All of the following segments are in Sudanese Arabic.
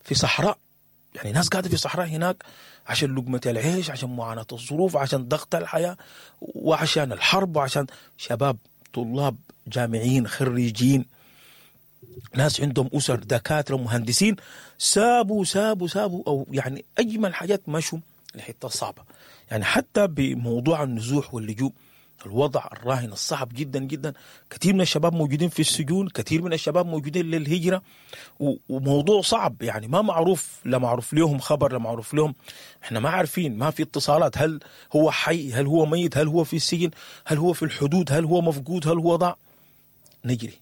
في صحراء، يعني ناس قاعدة في صحراء هناك عشان لقمة العيش، عشان معاناة الظروف، عشان ضغط الحياة، وعشان الحرب، وعشان شباب طلاب جامعيين خريجين، ناس عندهم أسر، دكاترة، مهندسين، سابوا سابوا سابوا أو يعني أجمل حاجات مشوا الحتة الصعبة. يعني حتى بموضوع النزوح واللجوء، الوضع الراهن الصعب جدا جدا، كثير من الشباب موجودين في السجون، كثير من الشباب موجودين للهجرة، وموضوع صعب يعني ما معروف، لا معروف لهم خبر، لا معروف لهم، احنا ما عارفين، ما في اتصالات، هل هو حي، هل هو ميت، هل هو في السجن، هل هو في الحدود، هل هو مفقود، هل هو ضاع. نجري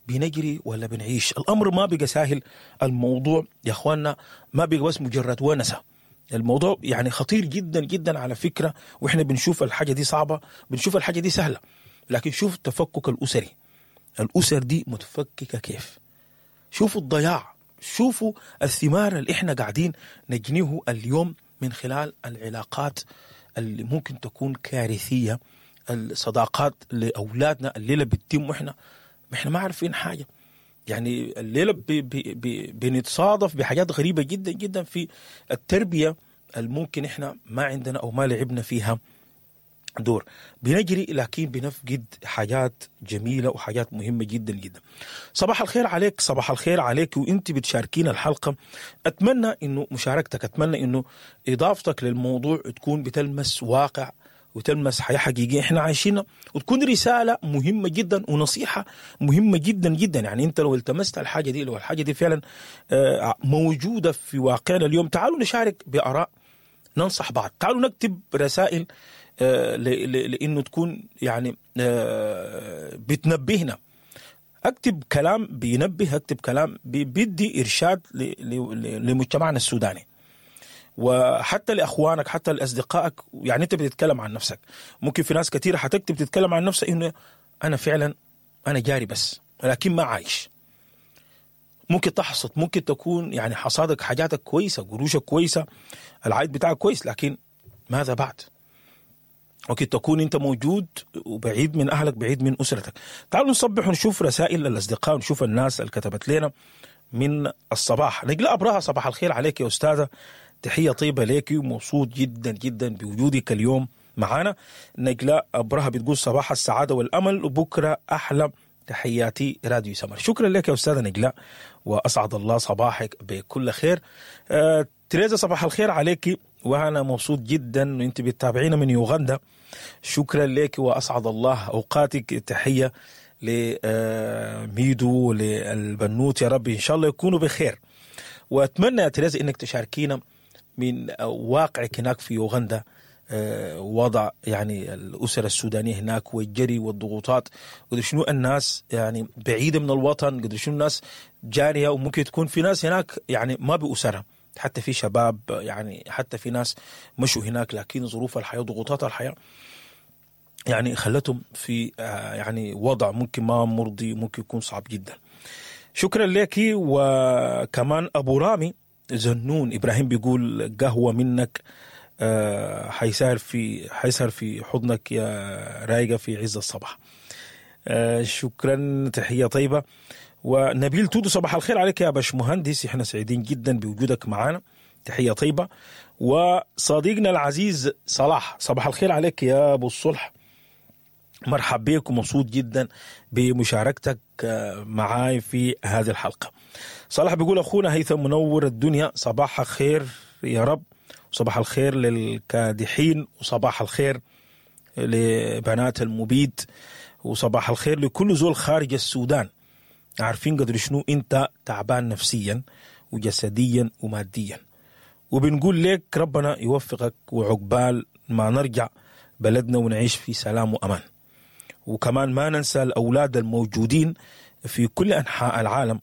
بنجري ولا بنعيش؟ الأمر ما بقى سهل. الموضوع يا أخواننا ما بقى بس مجرد ونسة، الموضوع يعني خطير جدا جدا على فكرة. وإحنا بنشوف الحاجة دي صعبة، بنشوف الحاجة دي سهلة، لكن شوف التفكك الأسري، الأسر دي متفككة كيف، شوفوا الضياع، شوفوا الثمار اللي إحنا قاعدين نجنيه اليوم من خلال العلاقات اللي ممكن تكون كارثية، الصداقات لأولادنا الليلة بتتم وإحنا ما عارفين حاجة. يعني الليلة بي بي بي بنتصادف بحاجات غريبة جدا جدا في التربية الممكن إحنا ما عندنا أو ما لعبنا فيها دور. بنجري لكن بنفقد حاجات جميلة وحاجات مهمة جدا جدا. صباح الخير عليك، صباح الخير عليك وانت بتشاركينا الحلقة. أتمنى إنه مشاركتك، أتمنى إنه إضافتك للموضوع تكون بتلمس واقع وتلمس حياة حقيقية احنا عايشينها، وتكون رسالة مهمة جدا ونصيحة مهمة جدا جدا. يعني انت لو التمست الحاجة دي، لو الحاجة دي فعلا موجودة في واقعنا اليوم، تعالوا نشارك بآراء، ننصح بعض، تعالوا نكتب رسائل لأنه تكون يعني بتنبهنا. اكتب كلام بينبه، اكتب كلام بيدي إرشاد لمجتمعنا السوداني، وحتى لأخوانك، حتى لأصدقائك. يعني أنت بتتكلم عن نفسك، ممكن في ناس كثيرة حتكتب تتكلم عن نفسها إنه أنا فعلا أنا جاري بس لكن ما عايش. ممكن تحصد، ممكن تكون يعني حصادك حاجاتك كويسة، قروشك كويسة، العائد بتاعك كويس، لكن ماذا بعد؟ ممكن تكون أنت موجود وبعيد من أهلك، بعيد من أسرتك. تعالوا نصبح ونشوف رسائل الأصدقاء ونشوف الناس اللي كتبت لنا من الصباح. نجلاء أبراها، صباح الخير عليك يا أستاذة، تحية طيبة ليك ومبسوط جدا جدا بوجودك اليوم معانا. نجلاء أبرهة بتقول صباح السعادة والأمل وبكرة أحلى، تحياتي راديو سمر. شكرا لك يا أستاذة نجلاء وأسعد الله صباحك بكل خير. تريزا صباح الخير عليك وأنا مبسوط جدا وأنت بتتابعينا من يوغندا، شكرا لك وأسعد الله أوقاتك. تحية لميدو للبنوت، يا رب إن شاء الله يكونوا بخير. وأتمنى يا تريزا إنك تشاركينا من واقعك هناك في يوغندا، وضع يعني الأسر السودانية هناك والجري والضغوطات، قدر شنو الناس يعني بعيدة من الوطن، قدر شنو الناس جارية، وممكن تكون في ناس هناك يعني ما بأسرها، حتى في شباب يعني حتى في ناس مشوا هناك لكن ظروف الحياة وضغوطات الحياة يعني خلتهم في يعني وضع ممكن ما مرضي، ممكن يكون صعب جدا. شكرا لك. وكمان أبو رامي زنون إبراهيم بيقول قهوة منك حيسهر في حضنك يا رايقة في عز الصباح. شكرا، تحية طيبة. ونبيل تودو صباح الخير عليك يا باش مهندس، احنا سعيدين جدا بوجودك معنا، تحية طيبة. وصديقنا العزيز صلاح صباح الخير عليك يا أبو الصلح، مرحب بك ومبسوط جدا بمشاركتك معاي في هذه الحلقة. صلاح بيقول أخونا هيثم منور الدنيا، صباح خير يا رب، وصباح الخير للكادحين، وصباح الخير لبنات المبيد، وصباح الخير لكل زول خارج السودان. عارفين قدر شنو انت تعبان نفسيا وجسديا وماديا، وبنقول لك ربنا يوفقك وعقبال ما نرجع بلدنا ونعيش في سلام وأمان. وكمان ما ننسى الأولاد الموجودين في كل أنحاء العالم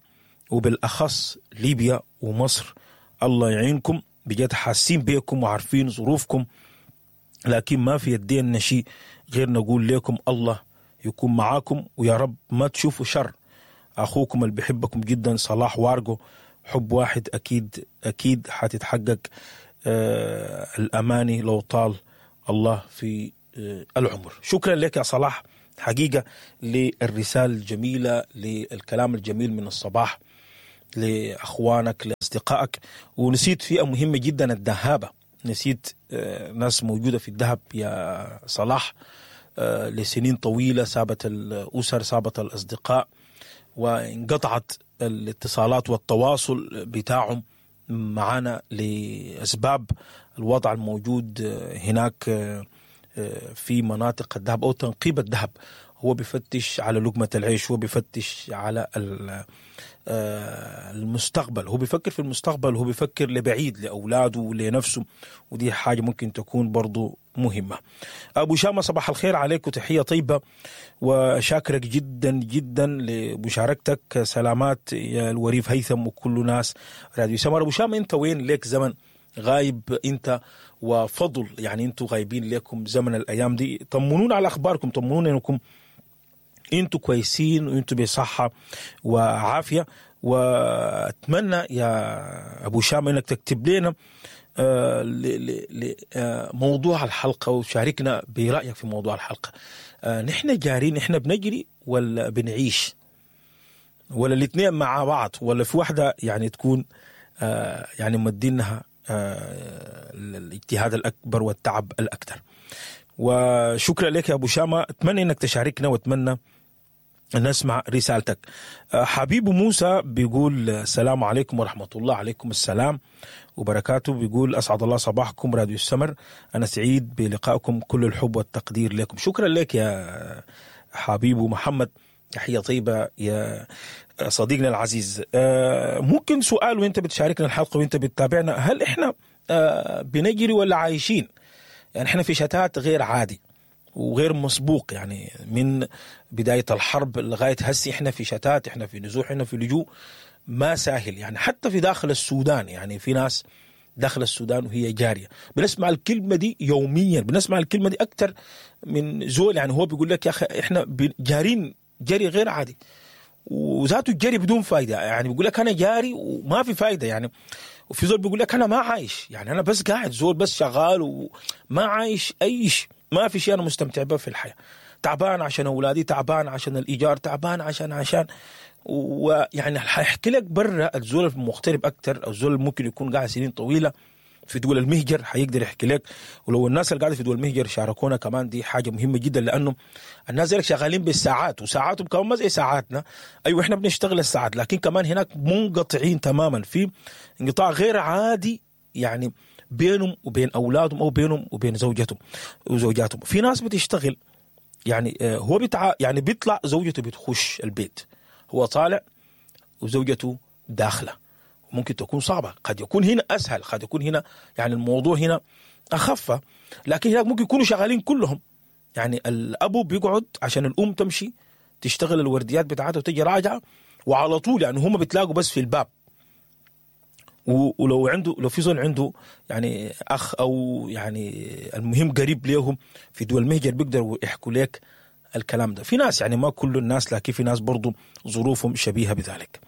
وبالأخص ليبيا ومصر، الله يعينكم بجد، حاسين بيكم وعارفين ظروفكم، لكن ما في يدينا شيء غير نقول لكم الله يكون معاكم ويا رب ما تشوفوا شر. أخوكم اللي بيحبكم جدا صلاح وارجو، حب واحد أكيد أكيد حتتحقق الأماني لو طال الله في العمر. شكرا لك يا صلاح حقيقة للرسالة الجميلة، للكلام الجميل من الصباح لاخوانك، لاصدقائك. ونسيت فئة مهمة جدا، الدهابه. نسيت ناس موجودة في الدهب يا صلاح، لسنين طويلة سابت الاسر، سابت الاصدقاء، وانقطعت الاتصالات والتواصل بتاعهم معانا لاسباب الوضع الموجود هناك في مناطق الذهب او تنقيب الذهب. هو بيفتش على لقمة العيش، هو بيفتش على المستقبل، هو بيفكر في المستقبل، هو بيفكر لبعيد، لأولاده ولنفسه، ودي حاجة ممكن تكون برضو مهمة. أبو شامة، صباح الخير عليك وتحية طيبة، وشاكرك جدا جدا لمشاركتك. سلامات يا الوريف هيثم وكل ناس راديو سمر. أبو شامة، أنت وين؟ ليك زمن غايب أنت وفضل، يعني أنتوا غايبين لكم زمن الأيام دي. طمنونا على أخباركم، طمنونا أنكم انتوا كويسين وانتوا بصحة وعافية. واتمنى يا ابو شامة انك تكتب لنا موضوع الحلقة وشاركنا برأيك في موضوع الحلقة. نحن جارين، نحن بنجري ولا بنعيش، ولا الاثنين مع بعض، ولا في واحدة يعني تكون يعني مدينها الاجتهاد الأكبر والتعب الأكثر. وشكرا لك يا أبو شامة، أتمنى أنك تشاركنا وأتمنى نسمع رسالتك. حبيب موسى بيقول السلام عليكم ورحمة الله. عليكم السلام وبركاته. بيقول أسعد الله صباحكم راديو السمر، أنا سعيد بلقائكم، كل الحب والتقدير لكم. شكرا لك يا حبيب محمد، تحية طيبة يا صديقنا العزيز. ممكن سؤال وانت بتشاركنا الحلقة وانت بتتابعنا، هل احنا بنجري ولا عايشين؟ يعني احنا في شتات غير عادي وغير مسبوق، يعني من بداية الحرب لغاية هسي احنا في شتات، احنا في نزوح، احنا في لجوء ما سهل. يعني حتى في داخل السودان، يعني في ناس داخل السودان وهي جارية، بنسمع الكلمة دي يوميا، بنسمع الكلمة دي أكتر من زول. يعني هو بيقول لك يا أخي احنا جارين جري غير عادي، وذاته الجري بدون فايدة. يعني بيقول لك أنا جاري وما في فايدة. يعني وفي زول بيقول لك أنا ما عايش، يعني أنا بس قاعد زول بس شغال وما عايش أي شيء، ما في شيء أنا مستمتع به في الحياة، تعبان عشان أولادي، تعبان عشان الإيجار، تعبان عشان ويعني حيحكي لك برا الزول المغترب أكتر، أو الزول ممكن يكون قاعد سنين طويلة في دول المهجر حيقدر يحكي لك. ولو الناس اللي قاعدة في دول المهجر شاركونا كمان، دي حاجة مهمة جدا، لانه الناس ديلك شغالين بالساعات، وساعاتهم كمان ما زي ساعاتنا. ايوه احنا بنشتغل الساعات، لكن كمان هناك منقطعين تماما، في انقطاع غير عادي يعني بينهم وبين اولادهم او بينهم وبين زوجتهم وزوجاتهم. في ناس بتشتغل يعني هو يعني بيطلع زوجته بتخش البيت، هو طالع وزوجته داخله. ممكن تكون صعبة، قد يكون هنا أسهل، قد يكون هنا يعني الموضوع هنا أخف، لكن هناك ممكن يكونوا شغالين كلهم. يعني الأبو بيقعد عشان الأم تمشي تشتغل الورديات بتاعتها وتجي راجعة، وعلى طول يعني هم بتلاقوا بس في الباب. ولو عنده، لو في زول عنده يعني أخ أو يعني المهم قريب ليهم في دول المهجر بيقدروا يحكوا لك الكلام ده. في ناس يعني ما كل الناس، لكن في ناس برضو ظروفهم شبيهة بذلك.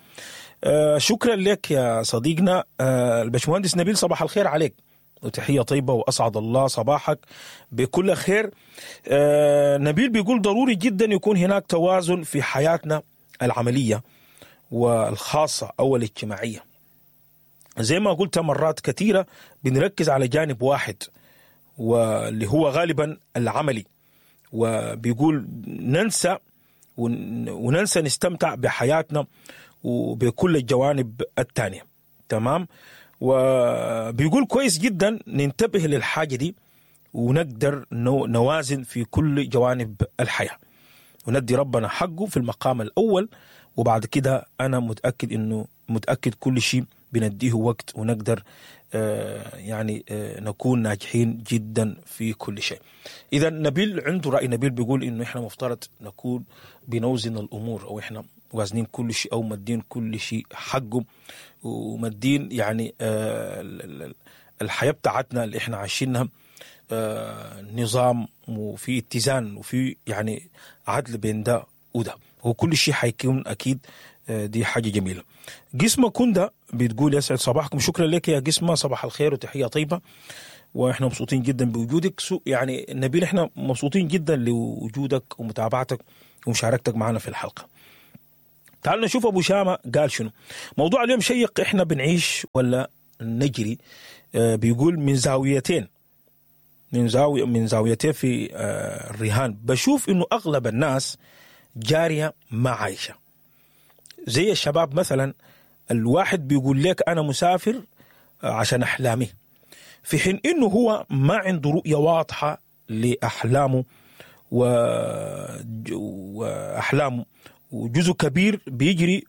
شكرا لك يا صديقنا البشمهندس نبيل، صباح الخير عليك وتحية طيبة، وأسعد الله صباحك بكل خير. نبيل بيقول ضروري جدا يكون هناك توازن في حياتنا العملية والخاصة أو الاجتماعية. زي ما قلت مرات كثيرة بنركز على جانب واحد واللي هو غالبا العملي، وبيقول ننسى نستمتع بحياتنا وبكل الجوانب الثانية. تمام. وبيقول كويس جدا ننتبه للحاجة دي ونقدر نوازن في كل جوانب الحياة، وندي ربنا حقه في المقام الأول، وبعد كده أنا متأكد إنه متأكد كل شيء بنديه وقت، ونقدر يعني نكون ناجحين جدا في كل شيء. إذا نبيل عنده رأي. نبيل بيقول إنه إحنا مفترض نكون بنوزن الأمور، أو إحنا وازنين كل شيء، أو مدين كل شيء حقه، ومدين يعني الحياة بتاعتنا اللي إحنا عايشينها نظام، وفي اتزان، وفي يعني عدل بين ده وده، وكل شيء حيكون أكيد. دي حاجة جميلة. قسمة كندا بتقول يسعد صباحكم. شكرا لك يا قسمة، صباح الخير وتحية طيبة، وإحنا مبسوطين جدا بوجودك. يعني نبيل إحنا مبسوطين جدا لوجودك ومتابعتك ومشاركتك معنا في الحلقة. تعالوا نشوف ابو شامة قال شنو. موضوع اليوم شيق، احنا بنعيش ولا نجري؟ بيقول من زاويتين، من زاويتين في الرهان. بشوف انه اغلب الناس جارية ما عايشه. زي الشباب مثلا، الواحد بيقول لك انا مسافر عشان احلامي، في حين انه هو ما عنده رؤية واضحة لاحلامه واحلامه، وجزء كبير بيجري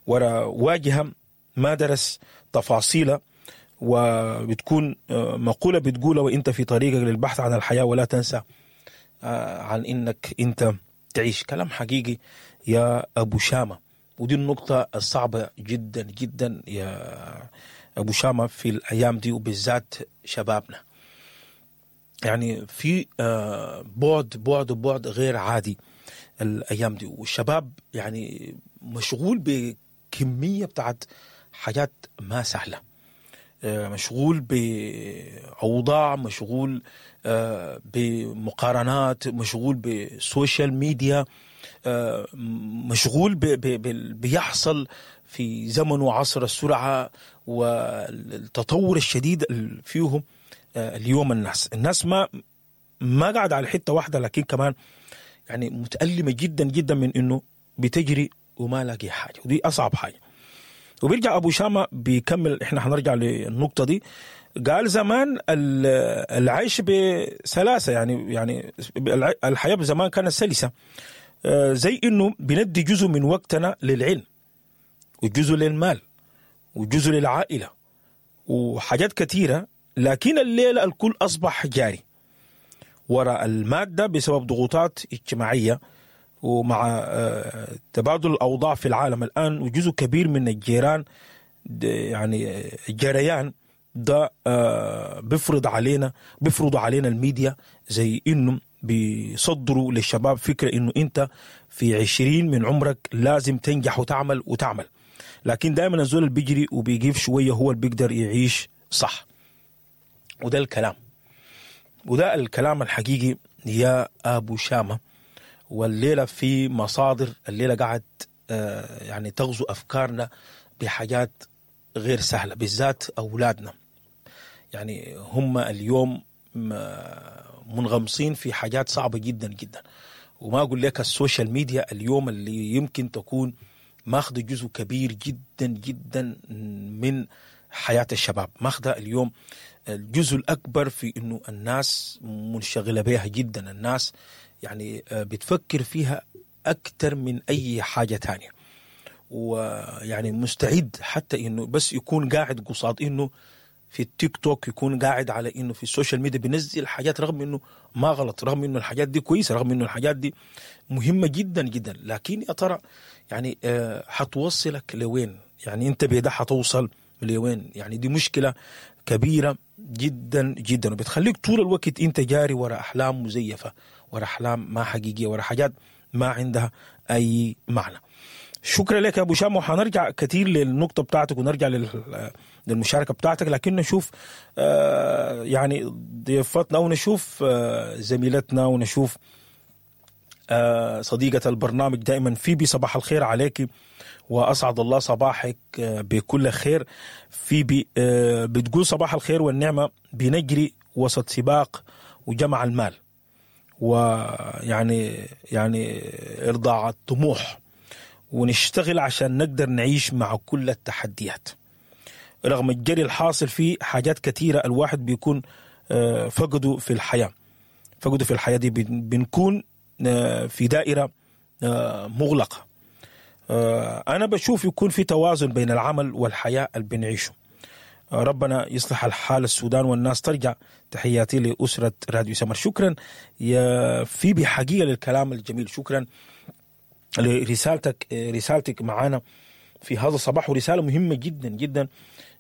ورا واجهه ما درس تفاصيلها، وبتكون مقولة بتقولها وانت في طريقك للبحث عن الحياة، ولا تنسى عن انك انت تعيش. كلام حقيقي يا ابو شامة، ودي النقطة الصعبة جدا جدا يا ابو شامة في الايام دي، وبالذات شبابنا. يعني في بعد بعد بعد غير عادي الايام دي، والشباب يعني مشغول بكمية بتاعت حاجات ما سهلة، مشغول بأوضاع، مشغول بمقارنات، مشغول ب social media، مشغول بيحصل في زمن وعصر السرعة والتطور الشديد فيه اليوم. الناس ما قاعدة على حتة واحدة، لكن كمان يعني متألمة جدا جدا من إنه بتجري وما لاقي حاجة، ودي أصعب حاجة. وبيرجع أبو شامة بيكمل، إحنا حنرجع للنقطة دي. قال زمان العيش بسلاسة، يعني الحياة زمان كانت سلسة، زي إنه بندي جزء من وقتنا للعلم، وجزء للمال، وجزء للعائلة، وحاجات كثيرة. لكن الليلة الكل أصبح جاري وراء المادة بسبب ضغوطات اجتماعية، ومع تبادل الأوضاع في العالم الآن، وجزء كبير من الجيران يعني الجريان ده بيفرض علينا الميديا، زي إنه بيصدروا للشباب فكرة إنه أنت في 20 من عمرك لازم تنجح وتعمل وتعمل، لكن دائما الزول اللي بيجري وبيجيب شوية هو اللي بيقدر يعيش صح. وده الكلام، وده الكلام الحقيقي يا أبو شامة. والليلة في مصادر الليلة قاعد يعني تغزو أفكارنا بحاجات غير سهلة، بالذات أولادنا. يعني هم اليوم منغمصين في حاجات صعبة جدا جدا، وما أقول لك ال social media اليوم اللي يمكن تكون ماخذ جزء كبير جدا جدا من حياة الشباب، ماخذ اليوم الجزء الأكبر في إنه الناس منشغلة بها جدا، الناس يعني بتفكر فيها أكثر من أي حاجة تانية، ويعني مستعد حتى إنه بس يكون قاعد قصاد إنه في التيك توك، يكون قاعد على إنه في ال social media بينزل حاجات، رغم إنه ما غلط، رغم إنه الحاجات دي كويسة، رغم إنه الحاجات دي مهمة جدا جدا، لكن يا ترى يعني حتوصلك لوين؟ يعني أنت بيدا حتوصل لوين؟ يعني دي مشكلة كبيرة جدا جدا، وبتخليك طول الوقت أنت جاري وراء أحلام مزيفة، وراء أحلام ما حقيقية، وراء حاجات ما عندها أي معنى. شكرا لك يا أبو شام، وحنرجع كثير للنقطة بتاعتك ونرجع للمشاركة بتاعتك، لكن نشوف يعني ضيفتنا ونشوف زميلتنا ونشوف صديقة البرنامج دائما فيبي. صباح الخير عليك وأسعد الله صباحك بكل خير. فيبي بتقول صباح الخير والنعمة، بنجري وسط سباق وجمع المال، ويعني يعني إرضاء الطموح، ونشتغل عشان نقدر نعيش مع كل التحديات. رغم الجري الحاصل فيه حاجات كثيرة الواحد بيكون فقده في الحياة، فقده في الحياة دي بنكون في دائرة مغلقة. أنا بشوف يكون في توازن بين العمل والحياة اللي بنعيشه. ربنا يصلح الحال السودان والناس ترجع. تحياتي لأسرة راديو سمر. شكرا يا فيبي حقيقة للكلام الجميل، شكرا لرسالتك، رسالتك معانا في هذا الصباح، ورسالة مهمة جدا جدا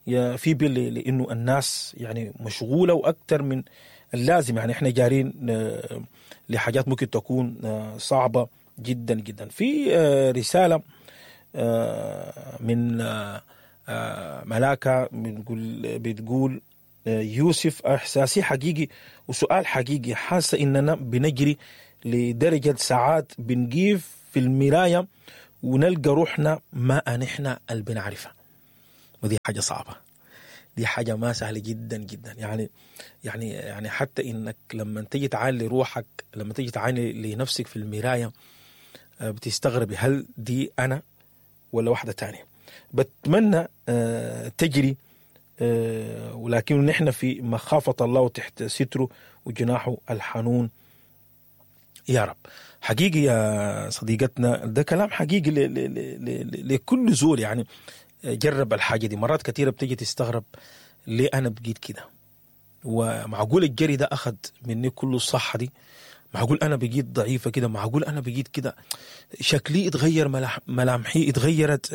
يا فيبي، لأنه الناس يعني مشغولة وأكثر من اللازم، يعني احنا جارين لحاجات ممكن تكون صعبة جدا جدا. في رسالة من ملاكة بتقول يوسف إحساسي حقيقي وسؤال حقيقي، حاسة إننا بنجري لدرجة ساعات بنقيف في المراية ونلقى روحنا ما نحن اللي بنعرفها. ودي حاجة صعبة، دي حاجة ما سهلة جدا جدا. يعني حتى انك لما تيجي تعالي روحك، لما تيجي تعالي لنفسك في المراية، بتستغربي هل دي انا ولا واحدة تانية. بتمنى تجري، ولكن نحن في مخافة الله وتحت ستره وجناحه الحنون يا رب. حقيقي يا صديقتنا، ده كلام حقيقي لكل زول يعني جرب الحاجة دي. مرات كثيرة بتيجي تستغرب ليه أنا بقيت كده، ومعقول الجري ده أخذ مني كل الصحة دي، معقول أنا بقيت ضعيفة كده، معقول أنا بقيت كده، شكلي اتغير، ملامحي اتغيرت،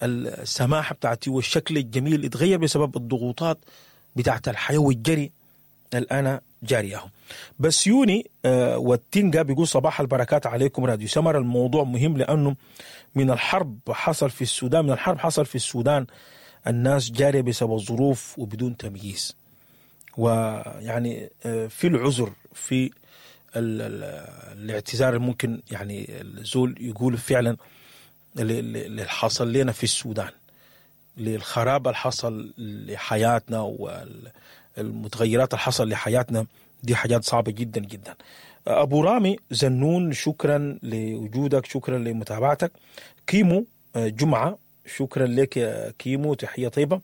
السماحة بتاعتي والشكل الجميل اتغير بسبب الضغوطات بتاعت الحياة والجري اللي أنا جاريهم. بسيوني والتنجا بيقول صباح البركات عليكم راديو سمر. الموضوع مهم لأنه من الحرب حصل في السودان، من الحرب حصل في السودان الناس جارية بسبب الظروف وبدون تمييز، ويعني في العذر، في الاعتذار ممكن يعني الزول يقول فعلا اللي حصل لنا في السودان، للخراب اللي حصل لحياتنا والمتغيرات اللي حصل لحياتنا، دي حاجات صعبة جدا جدا. أبو رامي زنون، شكرا لوجودك، شكرا لمتابعتك. كيمو جمعة، شكرا لك يا كيمو، تحية طيبة.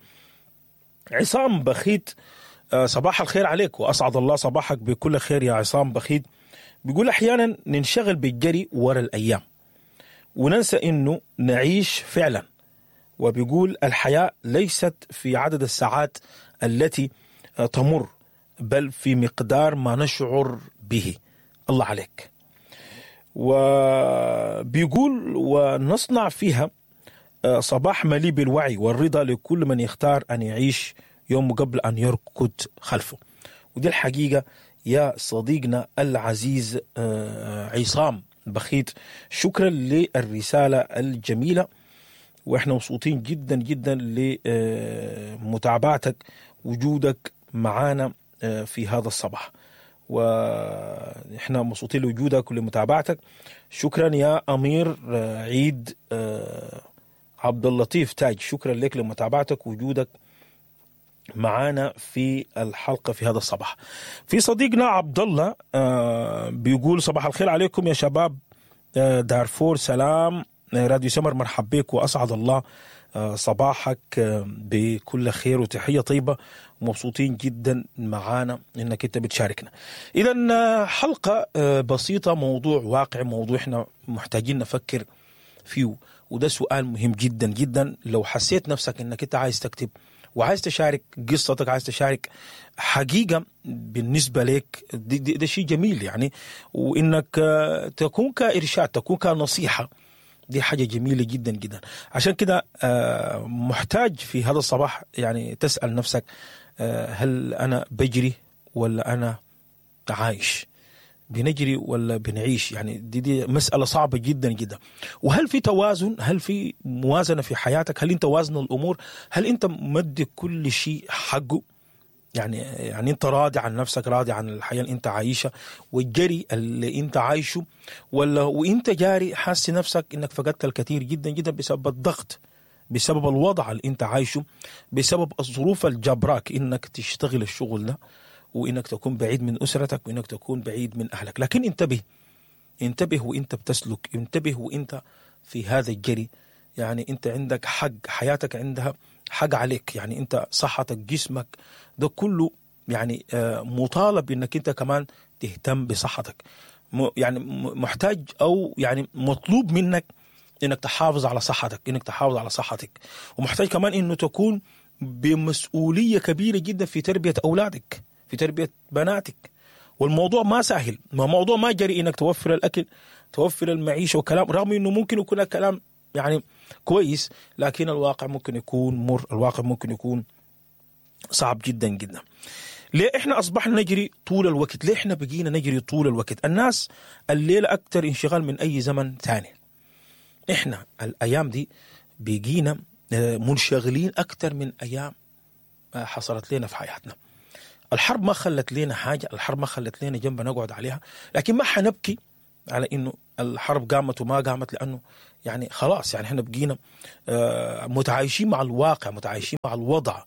عصام بخيت، صباح الخير عليك وأسعد الله صباحك بكل خير يا عصام بخيت. بيقول أحيانا ننشغل بالجري ورا الأيام وننسى إنه نعيش فعلا. وبيقول الحياة ليست في عدد الساعات التي تمر، بل في مقدار ما نشعر به. الله عليك. وبيقول ونصنع فيها صباح مليء بالوعي والرضا لكل من يختار أن يعيش يوم قبل أن يركض خلفه. ودي الحقيقة يا صديقنا العزيز عصام بخيت، شكرا للرسالة الجميلة، وإحنا مبسوطين جدا جدا لمتابعتك وجودك معانا في هذا الصباح، وإحنا مبسوطين لوجودك ولمتابعتك. شكرا يا أمير عيد عبد اللطيف تاج، شكرا لك لمتابعتك وجودك معانا في الحلقة في هذا الصباح. في صديقنا عبد الله بيقول صباح الخير عليكم يا شباب دارفور، سلام راديو سمر، مرحب بك وأسعد الله صباحك بكل خير وتحية طيبة، ومبسوطين جدا معانا انك انت بتشاركنا. اذا حلقة بسيطة، موضوع واقع، موضوع احنا محتاجين نفكر فيه، وده سؤال مهم جدا جدا. لو حسيت نفسك انك انت عايز تكتب وعايز تشارك قصتك، عايز تشارك حقيقة بالنسبة لك، ده شيء جميل يعني، وإنك تكون كإرشاد، تكون كنصيحة، دي حاجة جميلة جدا جدا. عشان كده محتاج في هذا الصباح يعني تسأل نفسك، هل أنا بجري ولا أنا عايش؟ بنجري ولا بنعيش؟ يعني دي مسألة صعبة جدا جدا. وهل في توازن؟ هل في موازنة في حياتك؟ هل انت وازن الأمور؟ هل انت مدي كل شيء حقه؟ يعني انت راضي عن نفسك، راضي عن الحياة اللي انت عايشها والجري اللي انت عايشه، ولا وانت جاري حاسس نفسك انك فقدت الكثير جدا جدا بسبب الضغط، بسبب الوضع اللي انت عايشه، بسبب الظروف الجبراك انك تشتغل الشغل ده، وإنك تكون بعيد من أسرتك، وإنك تكون بعيد من أهلك. لكن انتبه، انتبه وإنت بتسلك، انتبه وإنت في هذا الجري. يعني أنت عندك حق، حياتك عندها حق عليك، يعني أنت صحتك، جسمك، ده كله يعني مطالب إنك أنت كمان تهتم بصحتك. يعني محتاج أو يعني مطلوب منك إنك تحافظ على صحتك، إنك تحافظ على صحتك. ومحتاج كمان إنه تكون بمسؤولية كبيرة جدا في تربية أولادك، في تربية بناتك. والموضوع ما سهل، ما موضوع ما جري انك توفر الاكل، توفر المعيشة وكلام، رغم انه ممكن يكون الكلام يعني كويس، لكن الواقع ممكن يكون مر، الواقع ممكن يكون صعب جدا جدا. ليه احنا اصبحنا نجري طول الوقت؟ ليه احنا بقينا نجري طول الوقت؟ الناس الليلة اكثر انشغال من اي زمن ثاني. احنا الايام دي بقينا منشغلين اكثر من ايام حصلت لنا في حياتنا. الحرب ما خلت لنا حاجة، الحرب ما خلت لنا جنب نقعد عليها، لكن ما حنبكي على إنه الحرب قامت وما قامت، لأنه يعني خلاص، يعني احنا بقينا متعايشين مع الواقع، متعايشين مع الوضع،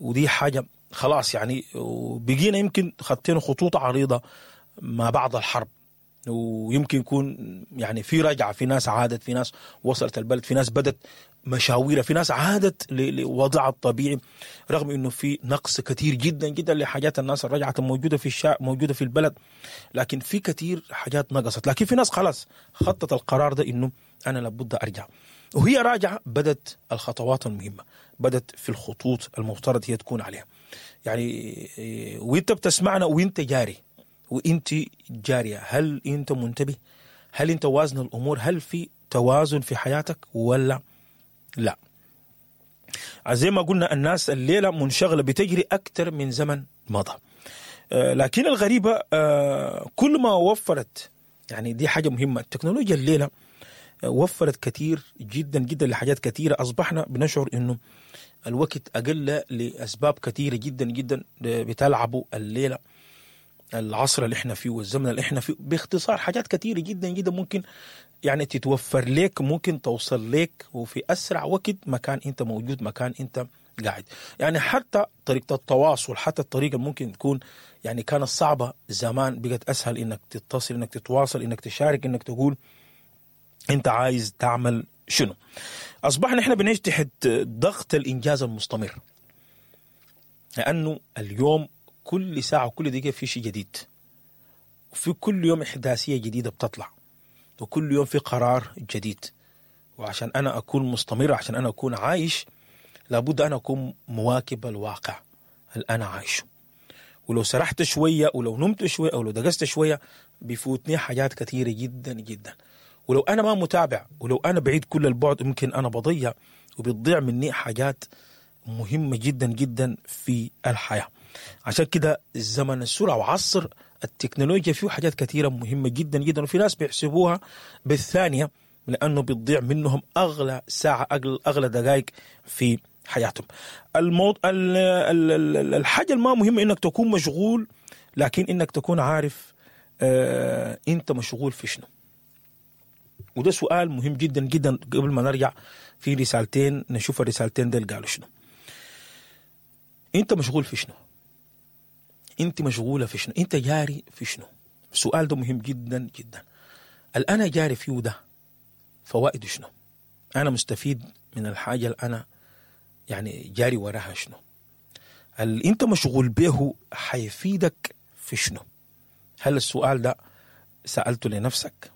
ودي حاجة خلاص يعني. وبقينا يمكن خطينا خطوط عريضة ما بعد الحرب، ويمكن يكون يعني في رجعة، في ناس عادت، في ناس وصلت البلد، في ناس بدت مشاويرها، في ناس عادت لوضعها الطبيعي، رغم انه في نقص كثير جدا جدا لحاجات الناس الرجعت الموجودة في الشارع، موجودة في البلد، لكن في كثير حاجات نقصت. لكن في ناس خلاص خطت القرار ده انه انا لابد ارجع، وهي راجعه بدت الخطوات المهمة، بدت في الخطوط المفترض هي تكون عليها. يعني وانت بتسمعنا وانت جاري وانت جارية، هل انت منتبه؟ هل انت وازن الامور؟ هل في توازن في حياتك ولا لا؟ زي ما قلنا الناس الليلة منشغله بتجري اكثر من زمن مضى. لكن الغريبة كل ما وفرت، يعني دي حاجة مهمة، التكنولوجيا الليلة وفرت كثير جدا جدا لحاجات كثيرة. اصبحنا بنشعر انه الوقت اقل لاسباب كثيرة جدا جدا بتلعبوا الليلة، العصر اللي احنا فيه والزمن اللي احنا فيه. باختصار حاجات كثيرة جدا جدا ممكن يعني تتوفر لك، ممكن توصل لك وفي اسرع وقت مكان انت موجود، مكان انت قاعد. يعني حتى طريقه التواصل، حتى الطريقة ممكن تكون يعني كانت صعبة زمان، بقت اسهل انك تتصل، انك تتواصل، انك تشارك، انك تقول انت عايز تعمل شنو. اصبحنا احنا بنعيش تحت ضغط الانجاز المستمر، لانه اليوم كل ساعة وكل دقيقة في شيء جديد، وفي كل يوم احداثيه جديدة بتطلع، وكل يوم في قرار جديد. وعشان انا اكون مستمر، عشان انا اكون عايش، لابد انا اكون مواكب الواقع اللي انا عايشه. ولو سرحت شوية، ولو نمت شوية، او لو دقست شوية، بيفوتني حاجات كثيرة جدا جدا. ولو انا ما متابع، ولو انا بعيد كل البعد، ممكن انا بضيع وبتضيع مني حاجات مهمة جدا جدا في الحياة. عشان كده الزمن السرعة وعصر التكنولوجيا فيه حاجات كثيرة مهمة جدا جدا، وفي ناس بيحسبوها بالثانية لانه بتضيع منهم اغلى ساعة، اغلى دقائق في حياتهم. الحاجة الما مهمة انك تكون مشغول، لكن انك تكون عارف انت مشغول في شنو. وده سؤال مهم جدا جدا. قبل ما نرجع في رسالتين، نشوف الرسالتين ديل قالوا شنو. انت مشغول في شنو؟ انت مشغولة في شنو؟ انت جاري في شنو؟ السؤال ده مهم جدا جدا. الأنا جاري فيه ده فوائده شنو؟ انا مستفيد من الحاجة اللي انا يعني جاري وراها شنو؟ اللي انت مشغول به حيفيدك في شنو؟ هل السؤال ده سألته لنفسك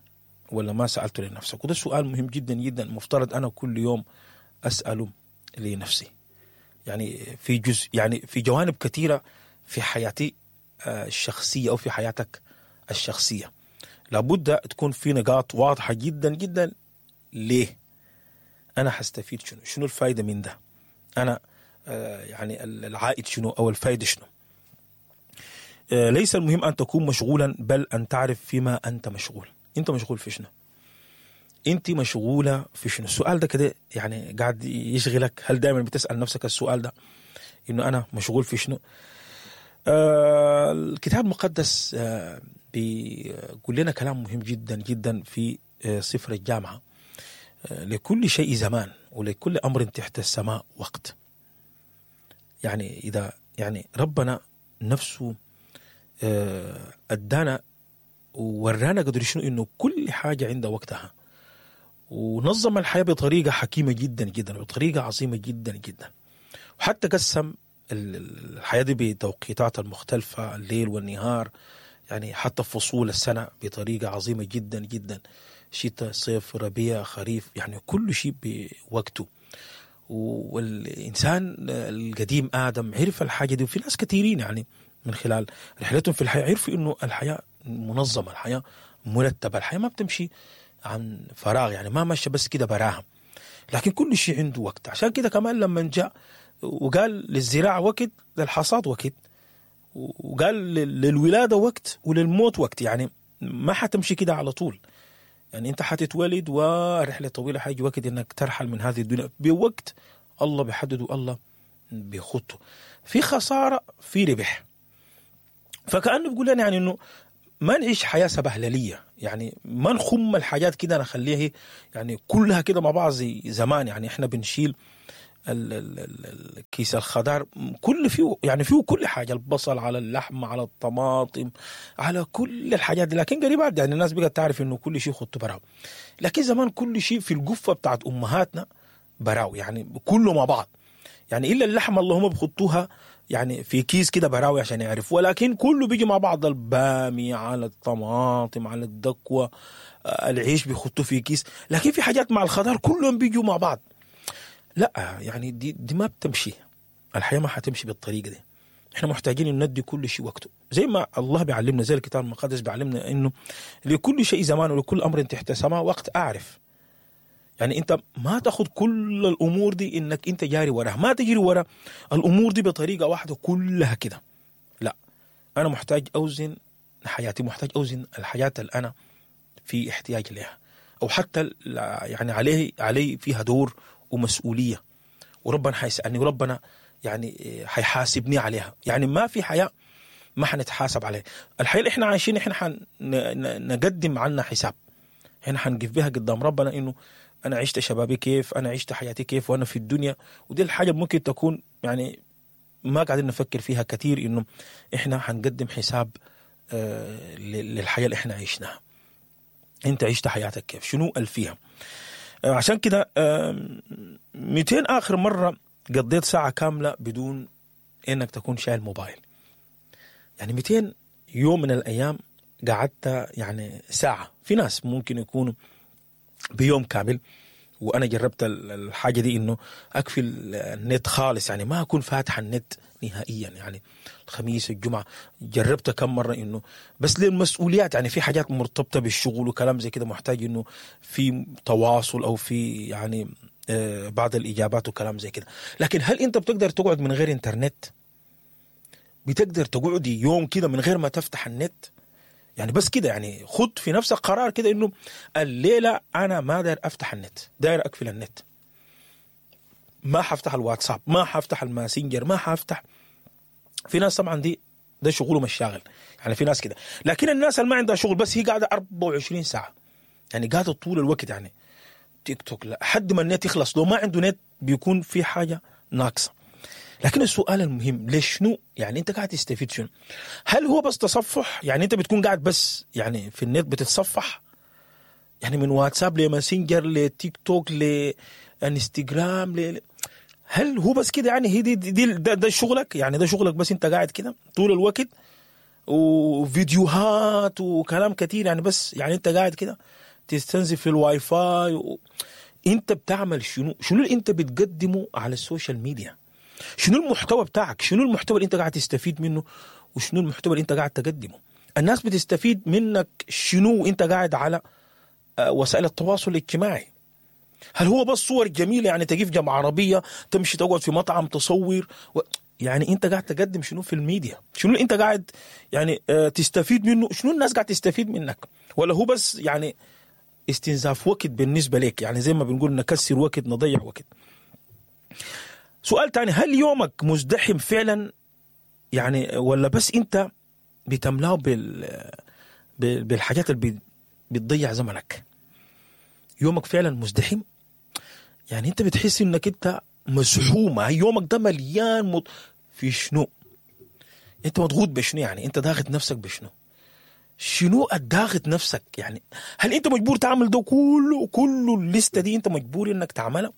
ولا ما سألته لنفسك؟ وده سؤال مهم جدا جدا، مفترض أنا كل يوم أسأله لنفسي. يعني في جزء، يعني في جوانب كثيرة في حياتي الشخصية أو في حياتك الشخصية، لابد تكون في نقاط واضحة جدا جدا. ليه أنا حستفيد شنو؟ شنو الفائدة من ده؟ أنا يعني العائد شنو أو الفائدة شنو؟ ليس المهم أن تكون مشغولا، بل أن تعرف فيما أنت مشغول. انت مشغول في شنو؟ انت مشغولة في شنو؟ السؤال ده كده يعني قاعد يشغلك. هل دائما بتسال نفسك السؤال ده انه انا مشغول في شنو؟ الكتاب المقدس بيقول لنا كلام مهم جدا جدا في سفر الجامعة: لكل شيء زمان ولكل امر تحت السماء وقت. يعني اذا يعني ربنا نفسه ادانا وورانا قدر شنو انه كل حاجة عندها وقتها، ونظم الحياة بطريقة حكيمة جدا جدا، وبطريقة عظيمة جدا جدا، وحتى قسم الحياة دي بتوقيتات المختلفة، الليل والنهار، يعني حتى فصول السنة بطريقة عظيمة جدا جدا، شتاء، صيف، ربيع، خريف، يعني كل شيء بوقته. والانسان القديم ادم عرف الحاجة دي، وفي ناس كثيرين يعني من خلال رحلتهم في الحياة عرفوا انه الحياة منظمة، الحياة مرتبه، الحياة ما بتمشي عن فراغ، يعني ما ماشية بس كده براها، لكن كل شيء عنده وقت. عشان كده كمان لما جاء وقال للزراعة وقت، للحصاد وقت، وقال للولاده وقت وللموت وقت، يعني ما حتمشي كده على طول. يعني انت حتتولد ورحله طويلة، حيجي وقت انك ترحل من هذه الدنيا بوقت الله بيحدده، الله بيخطه. في خسارة، في ربح. فكأنه بيقول لنا يعني انه ما نعيش حياة سبهلليه، يعني ما نخم الحاجات كده نخليها يعني كلها كده مع بعض زي زمان. يعني احنا بنشيل كيس الخضار كل فيه، يعني فيه كل حاجة، البصل على اللحم على الطماطم على كل الحاجات دي. لكن قريبات يعني الناس بقت تعرف انه كل شيء خطه براو، لكن زمان كل شيء في القفه بتاعت امهاتنا براو، يعني كله مع بعض، يعني الا اللحمة اللي هم بخطوها يعني في كيس كده براوي عشان يعرفوا، ولكن كله بيجي مع بعض، البامية على الطماطم على الدكوة، العيش بيخطوه في كيس، لكن في حاجات مع الخضار كلهم بيجوا مع بعض. لا يعني دي ما بتمشي، الحياة ما حتمشي بالطريقة دي. احنا محتاجين ان ندي كل شيء وقته، زي ما الله بيعلمنا، زي الكتاب المقدس بيعلمنا انه لكل شيء زمان ولكل امر تحت السماء وقت. اعرف يعني انت ما تاخذ كل الامور دي انك انت جاري وراها، ما تجري ورا الامور دي بطريقة واحدة كلها كده. لا، انا محتاج اوزن حياتي، محتاج اوزن الحياة اللي انا في احتياج لها، او حتى يعني علي فيها دور ومسؤولية، وربنا حيسالني وربنا يعني حيحاسبني عليها. يعني ما في حياة ما حنتحاسب عليها. الحياة اللي احنا عايشين احنا حنقدم عنها حساب، احنا حنقف بها قدام ربنا انه انا عشت شبابي كيف، انا عشت حياتي كيف وانا في الدنيا. ودي الحاجة ممكن تكون يعني ما قاعدين نفكر فيها كثير، انه احنا حنقدم حساب للحياة اللي احنا عشناها. انت عشت حياتك كيف، شنو الفيها؟ عشان كده 200 اخر مرة قضيت ساعة كاملة بدون انك تكون شايل موبايل، يعني 200 يوم من الايام قعدت يعني ساعة. في ناس ممكن يكونوا بيوم كامل، وانا جربت الحاجة دي انه اقفل النت خالص، يعني ما اكون فاتح النت نهائيا، يعني الخميس الجمعة جربت كم مرة انه بس للمسؤوليات، يعني في حاجات مرتبطة بالشغل وكلام زي كده محتاج انه في تواصل او في يعني بعض الاجابات وكلام زي كده. لكن هل انت بتقدر تقعد من غير انترنت؟ بتقدر تقعدي يوم كده من غير ما تفتح النت؟ يعني بس كده، يعني خد في نفسك قرار كده انه الليلة انا ما داير افتح النت، داير اقفل النت، ما حفتح الواتساب، ما حفتح الماسنجر، ما حفتح. في ناس طبعا دي ده شغله مش شاغل، يعني في ناس كده. لكن الناس اللي ما عندها شغل بس هي قاعدة 24 ساعة، يعني قاعدة طول الوقت، يعني تيك توك لحد ما النت يخلص. لو ما عنده نت بيكون في حاجة ناقصه. لكن السؤال المهم، ليش شنو يعني انت قاعد تستفيد شنو؟ هل هو بس تصفح؟ يعني انت بتكون قاعد بس يعني في النت بتتصفح، يعني من واتساب لماسنجر لتيك توك لانستغرام هل هو بس كده؟ يعني هي دي ده شغلك، يعني ده شغلك بس، انت قاعد كده طول الوقت وفيديوهات وكلام كتير، يعني بس يعني انت قاعد كده تستنزف في الواي فاي انت بتعمل شنو؟ شنو اللي انت بتقدمه على ال social media؟ شنو المحتوى بتاعك؟ شنو المحتوى اللي انت قاعد تستفيد منه؟ وشنو المحتوى اللي انت قاعد تقدمه؟ الناس بتستفيد منك شنو وانت قاعد على وسائل التواصل الاجتماعي؟ هل هو بس صور جميلة، يعني تقف جنب عربية، تمشي تقعد في مطعم تصور يعني انت قاعد تقدم شنو في الميديا؟ شنو اللي انت قاعد يعني تستفيد منه؟ شنو الناس قاعد تستفيد منك؟ ولا هو بس يعني استنزاف وقت بالنسبة لك؟ يعني زي ما بنقول نكسر وقت، نضيع وقت. سؤال تاني، هل يومك مزدحم فعلا يعني، ولا بس انت بتملاه بالحاجات اللي بتضيع زمنك؟ يومك فعلا مزدحم؟ يعني انت بتحس انك انت مزحومة، يومك ده مليان في شنو؟ انت مضغوط بشنو؟ يعني انت ضاغط نفسك بشنو؟ شنو الضاغط نفسك؟ يعني هل انت مجبور تعمل ده كله؟ كله الليستة دي انت مجبور انك تعملها؟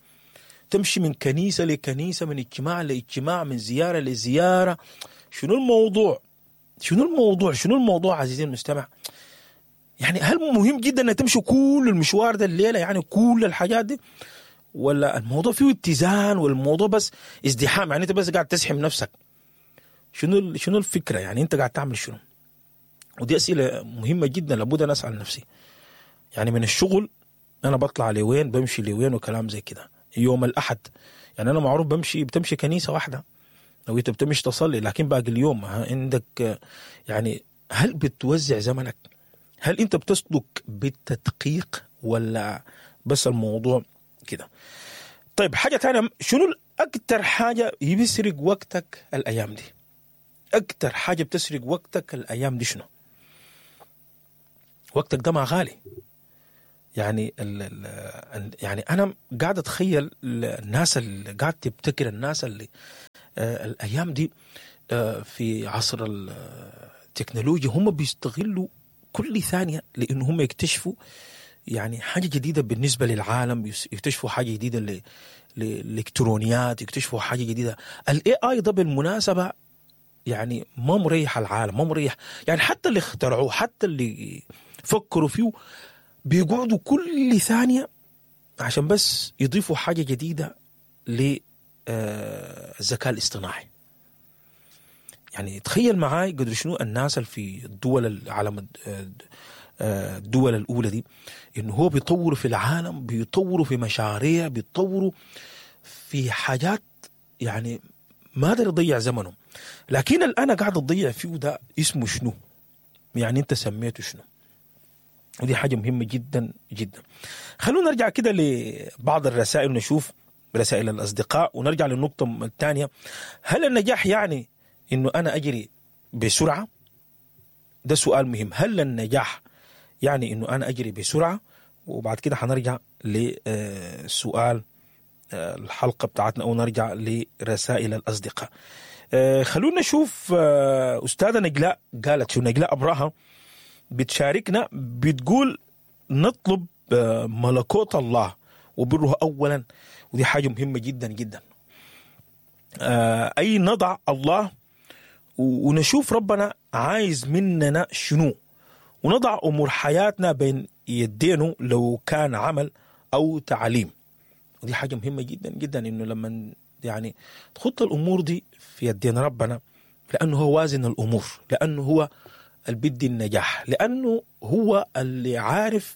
تمشي من كنيسة لكنيسة، من اجتماع لاجتماع، من زيارة لزيارة. شنو الموضوع؟ شنو الموضوع؟ شنو الموضوع عزيزي المستمع؟ يعني هل مهم جدا انك تمشي كل المشوار ده الليلة، يعني كل الحاجات دي، ولا الموضوع فيه اتزان والموضوع بس ازدحام؟ يعني انت بس قاعد تزحم نفسك. شنو الفكرة؟ يعني انت قاعد تعمل شنو؟ ودي أسئلة مهمة جدا لابد أن أسأل نفسي. يعني من الشغل أنا بطلع لوين، بمشي لوين، وكلام زي كده. يوم الأحد يعني أنا معروف بتمشي كنيسة واحدة لو أنت بتمشي تصلي، لكن باقي اليوم عندك يعني هل بتوزع زمنك؟ هل أنت بتسلك بالتدقيق ولا بس الموضوع كده؟ طيب حاجة تانية، شنو أكتر حاجة بيسرق وقتك الأيام دي؟ أكتر حاجة بتسرق وقتك الأيام دي شنو؟ وقتك ده ما غالي. يعني يعني انا قاعد اتخيل الناس اللي قاعد تبتكر، الناس اللي الايام دي في عصر التكنولوجيا هم بيستغلوا كل ثانية لانه هم يكتشفوا يعني حاجة جديدة بالنسبة للعالم، يكتشفوا حاجة جديدة للالكترونيات، يكتشفوا حاجة جديدة. ال AI ده بالمناسبة يعني ما مريح العالم، ما مريح، يعني حتى اللي اخترعوه، حتى اللي فكروا فيه، بيقعدوا كل ثانية عشان بس يضيفوا حاجة جديدة للذكاء الاصطناعي. يعني تخيل معاي قدر شنو الناس اللي في الدول العالم، الدول الاولى دي، انه هو بيطوروا في العالم، بيطوروا في مشاريع، بيطوروا في حاجات، يعني ما قدر يضيع زمنه. لكن اللي انا قاعد اضيع فيه ده اسمه شنو؟ يعني انت سميته شنو؟ ودي حاجة مهمة جدا جدا. خلونا نرجع كده لبعض الرسائل ونشوف رسائل الاصدقاء، ونرجع للنقطة الثانية. هل النجاح يعني انه انا اجري بسرعة؟ ده سؤال مهم. هل النجاح يعني انه انا اجري بسرعة؟ وبعد كده حنرجع لسؤال الحلقة بتاعتنا او نرجع لرسائل الاصدقاء. خلونا نشوف استاذه نجلاء قالت شو. نجلاء ابراهام بتشاركنا، بتقول نطلب ملكوت الله وبره اولا، ودي حاجة مهمة جدا جدا. اي نضع الله ونشوف ربنا عايز مننا شنو، ونضع امور حياتنا بين يدينه لو كان عمل او تعليم. ودي حاجة مهمة جدا جدا، انه لما يعني تخط الامور دي في يدين ربنا، لانه هو وازن الامور، لانه هو اللي بيدي النجاح، لانه هو اللي عارف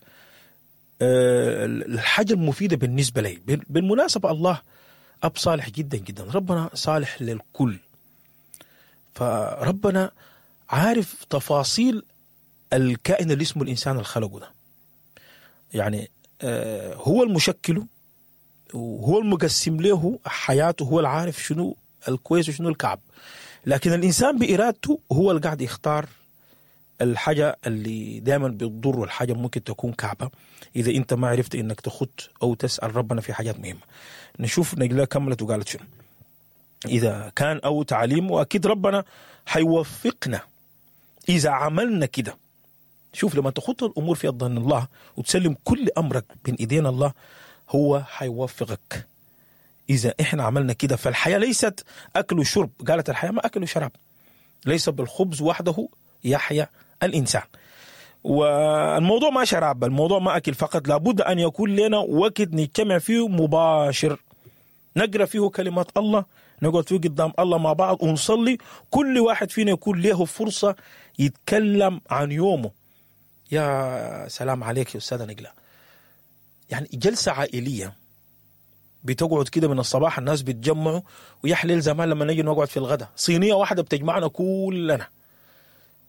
الحاجة المفيدة بالنسبة لي. بالمناسبة الله اب صالح جدا جدا، ربنا صالح للكل، فربنا عارف تفاصيل الكائن اللي اسمه الانسان اللي خلقه ده. يعني هو المشكلة وهو المقسم له حياته، هو العارف شنو الكويس وشنو الكعب، لكن الانسان بارادته هو اللي قاعد يختار الحاجة اللي دائما بتضر، والحاجة ممكن تكون كعبه اذا انت ما عرفت انك تخط او تسال ربنا في حاجات مهمة. نشوف نجلاء كملت وقالت شنو. اذا كان او تعليم، واكيد ربنا حيوفقنا اذا عملنا كده. شوف لما تخط الامور في يد الله وتسلم كل امرك بين ايدين الله، هو حيوفقك اذا احنا عملنا كده. فالحياة ليست اكل وشرب، قالت الحياة ما اكل وشراب، ليس بالخبز وحده يحيا الانسان. والموضوع ما شراب، الموضوع ما اكل فقط، لابد ان يكون لنا وقت نجتمع فيه مباشر، نقرا فيه كلمات الله، نقعد فيه قدام الله مع بعض ونصلي، كل واحد فينا يكون له فرصة يتكلم عن يومه. يا سلام عليك يا استاذه نجلاء. يعني جلسه عائلية بتقعد كده من الصباح، الناس بيتجمعوا، ويا حليل زمان لما نجي نقعد في الغداء، صينية واحدة بتجمعنا كلنا،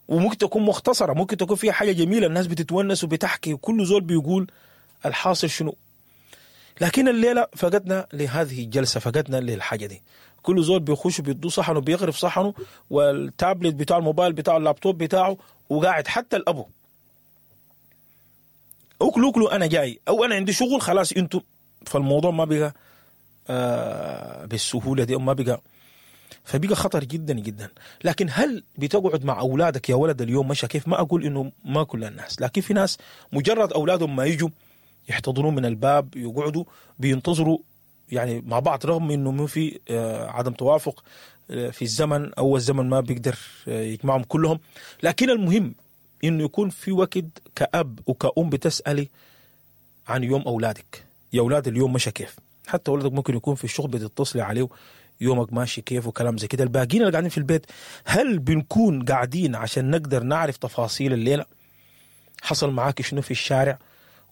وممكن تكون مختصره، ممكن تكون فيها حاجة جميلة، الناس بتتونس وبتحكي، وكل زول بيقول الحاصل شنو. لكن الليلة فقدنا لهذه الجلسة، فقدنا للحاجة دي. كل زول بيخش بيدو صحنه، بيغرف صحنه، والتابلت بتاعه، الموبايل بتاعه، اللابتوب بتاعه، وقاعد. حتى الابو اكلوا اكلوا انا جاي، او انا عندي شغل خلاص انتوا. فالموضوع ما بقى بالسهولة دي، ما بقى، فبقى خطر جدا جدا. لكن هل بتقعد مع اولادك يا ولد اليوم مشى كيف؟ ما اقول انه ما كل الناس، لكن في ناس مجرد اولادهم ما يجوا يحتضنون من الباب، يقعدوا بينتظروا يعني مع بعض، رغم انه ما في عدم توافق في الزمن، او الزمن ما بيقدر يجمعهم كلهم، لكن المهم انه يكون في وقت كأب وكأم بتسألي عن يوم اولادك، يا اولاد اليوم مشى كيف؟ حتى ولدك ممكن يكون في الشغل بتتصلي عليه يومك ماشي كيف وكلام زي كده. الباقيين اللي قاعدين في البيت، هل بنكون قاعدين عشان نقدر نعرف تفاصيل الليلة؟ حصل معاك شنو في الشارع؟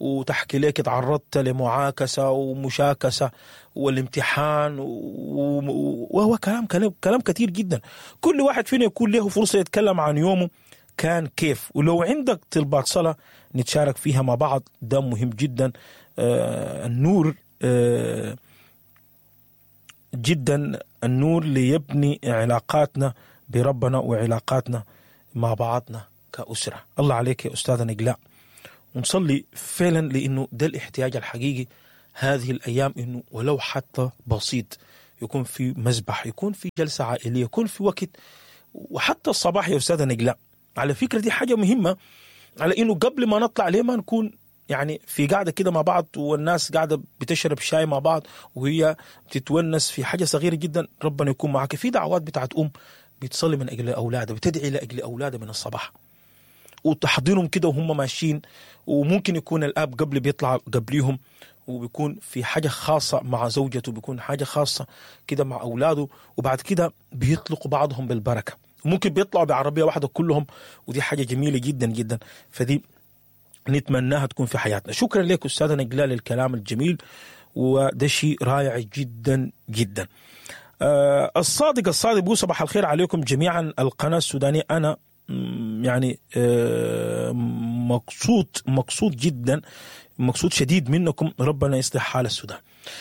وتحكي لك تعرضت لمعاكسة ومشاكسة والامتحان وهو كلام كلام كلام كثير جدا. كل واحد فينا يكون له فرصة يتكلم عن يومه كان كيف، ولو عندك طلبات صلاة نتشارك فيها مع بعض، ده مهم جدا. النور جدا، النور ليبني علاقاتنا بربنا وعلاقاتنا مع بعضنا كأسرة. الله عليك يا أستاذة نجلاء. ونصلي فعلا، لانه ده الاحتياج الحقيقي هذه الايام، انه ولو حتى بسيط يكون في مذبح، يكون في جلسه عائلية، يكون في وقت، وحتى الصباح يا استاذه نجلاء. على فكرة دي حاجة مهمة، على انه قبل ما نطلع ليه ما نكون يعني في قاعدة كده مع بعض، والناس قاعدة بتشرب شاي مع بعض وهي بتتونس في حاجة صغيرة جدا. ربنا يكون معك. في دعوات بتاعت ام بتصلي من اجل اولادها، بتدعي لاجل اولادها من الصباح، وتحضنهم كده وهم ماشيين، وممكن يكون الاب قبل بيطلع قبليهم، وبيكون في حاجة خاصة مع زوجته، بيكون حاجة خاصة كده مع اولاده، وبعد كده بيطلقوا بعضهم بالبركة، ممكن بيطلعوا بعربيه واحدة كلهم، ودي حاجة جميلة جدا جدا، فدي نتمناها تكون في حياتنا. شكرا لك استاذه نجلاء للكلام الجميل، وده شيء رائع جدا جدا. الصادق بيقول صباح الخير عليكم جميعا. القناة السودانية انا يعني مقصود جدا، مقصود شديد منكم، ربنا يصلح حال السودان.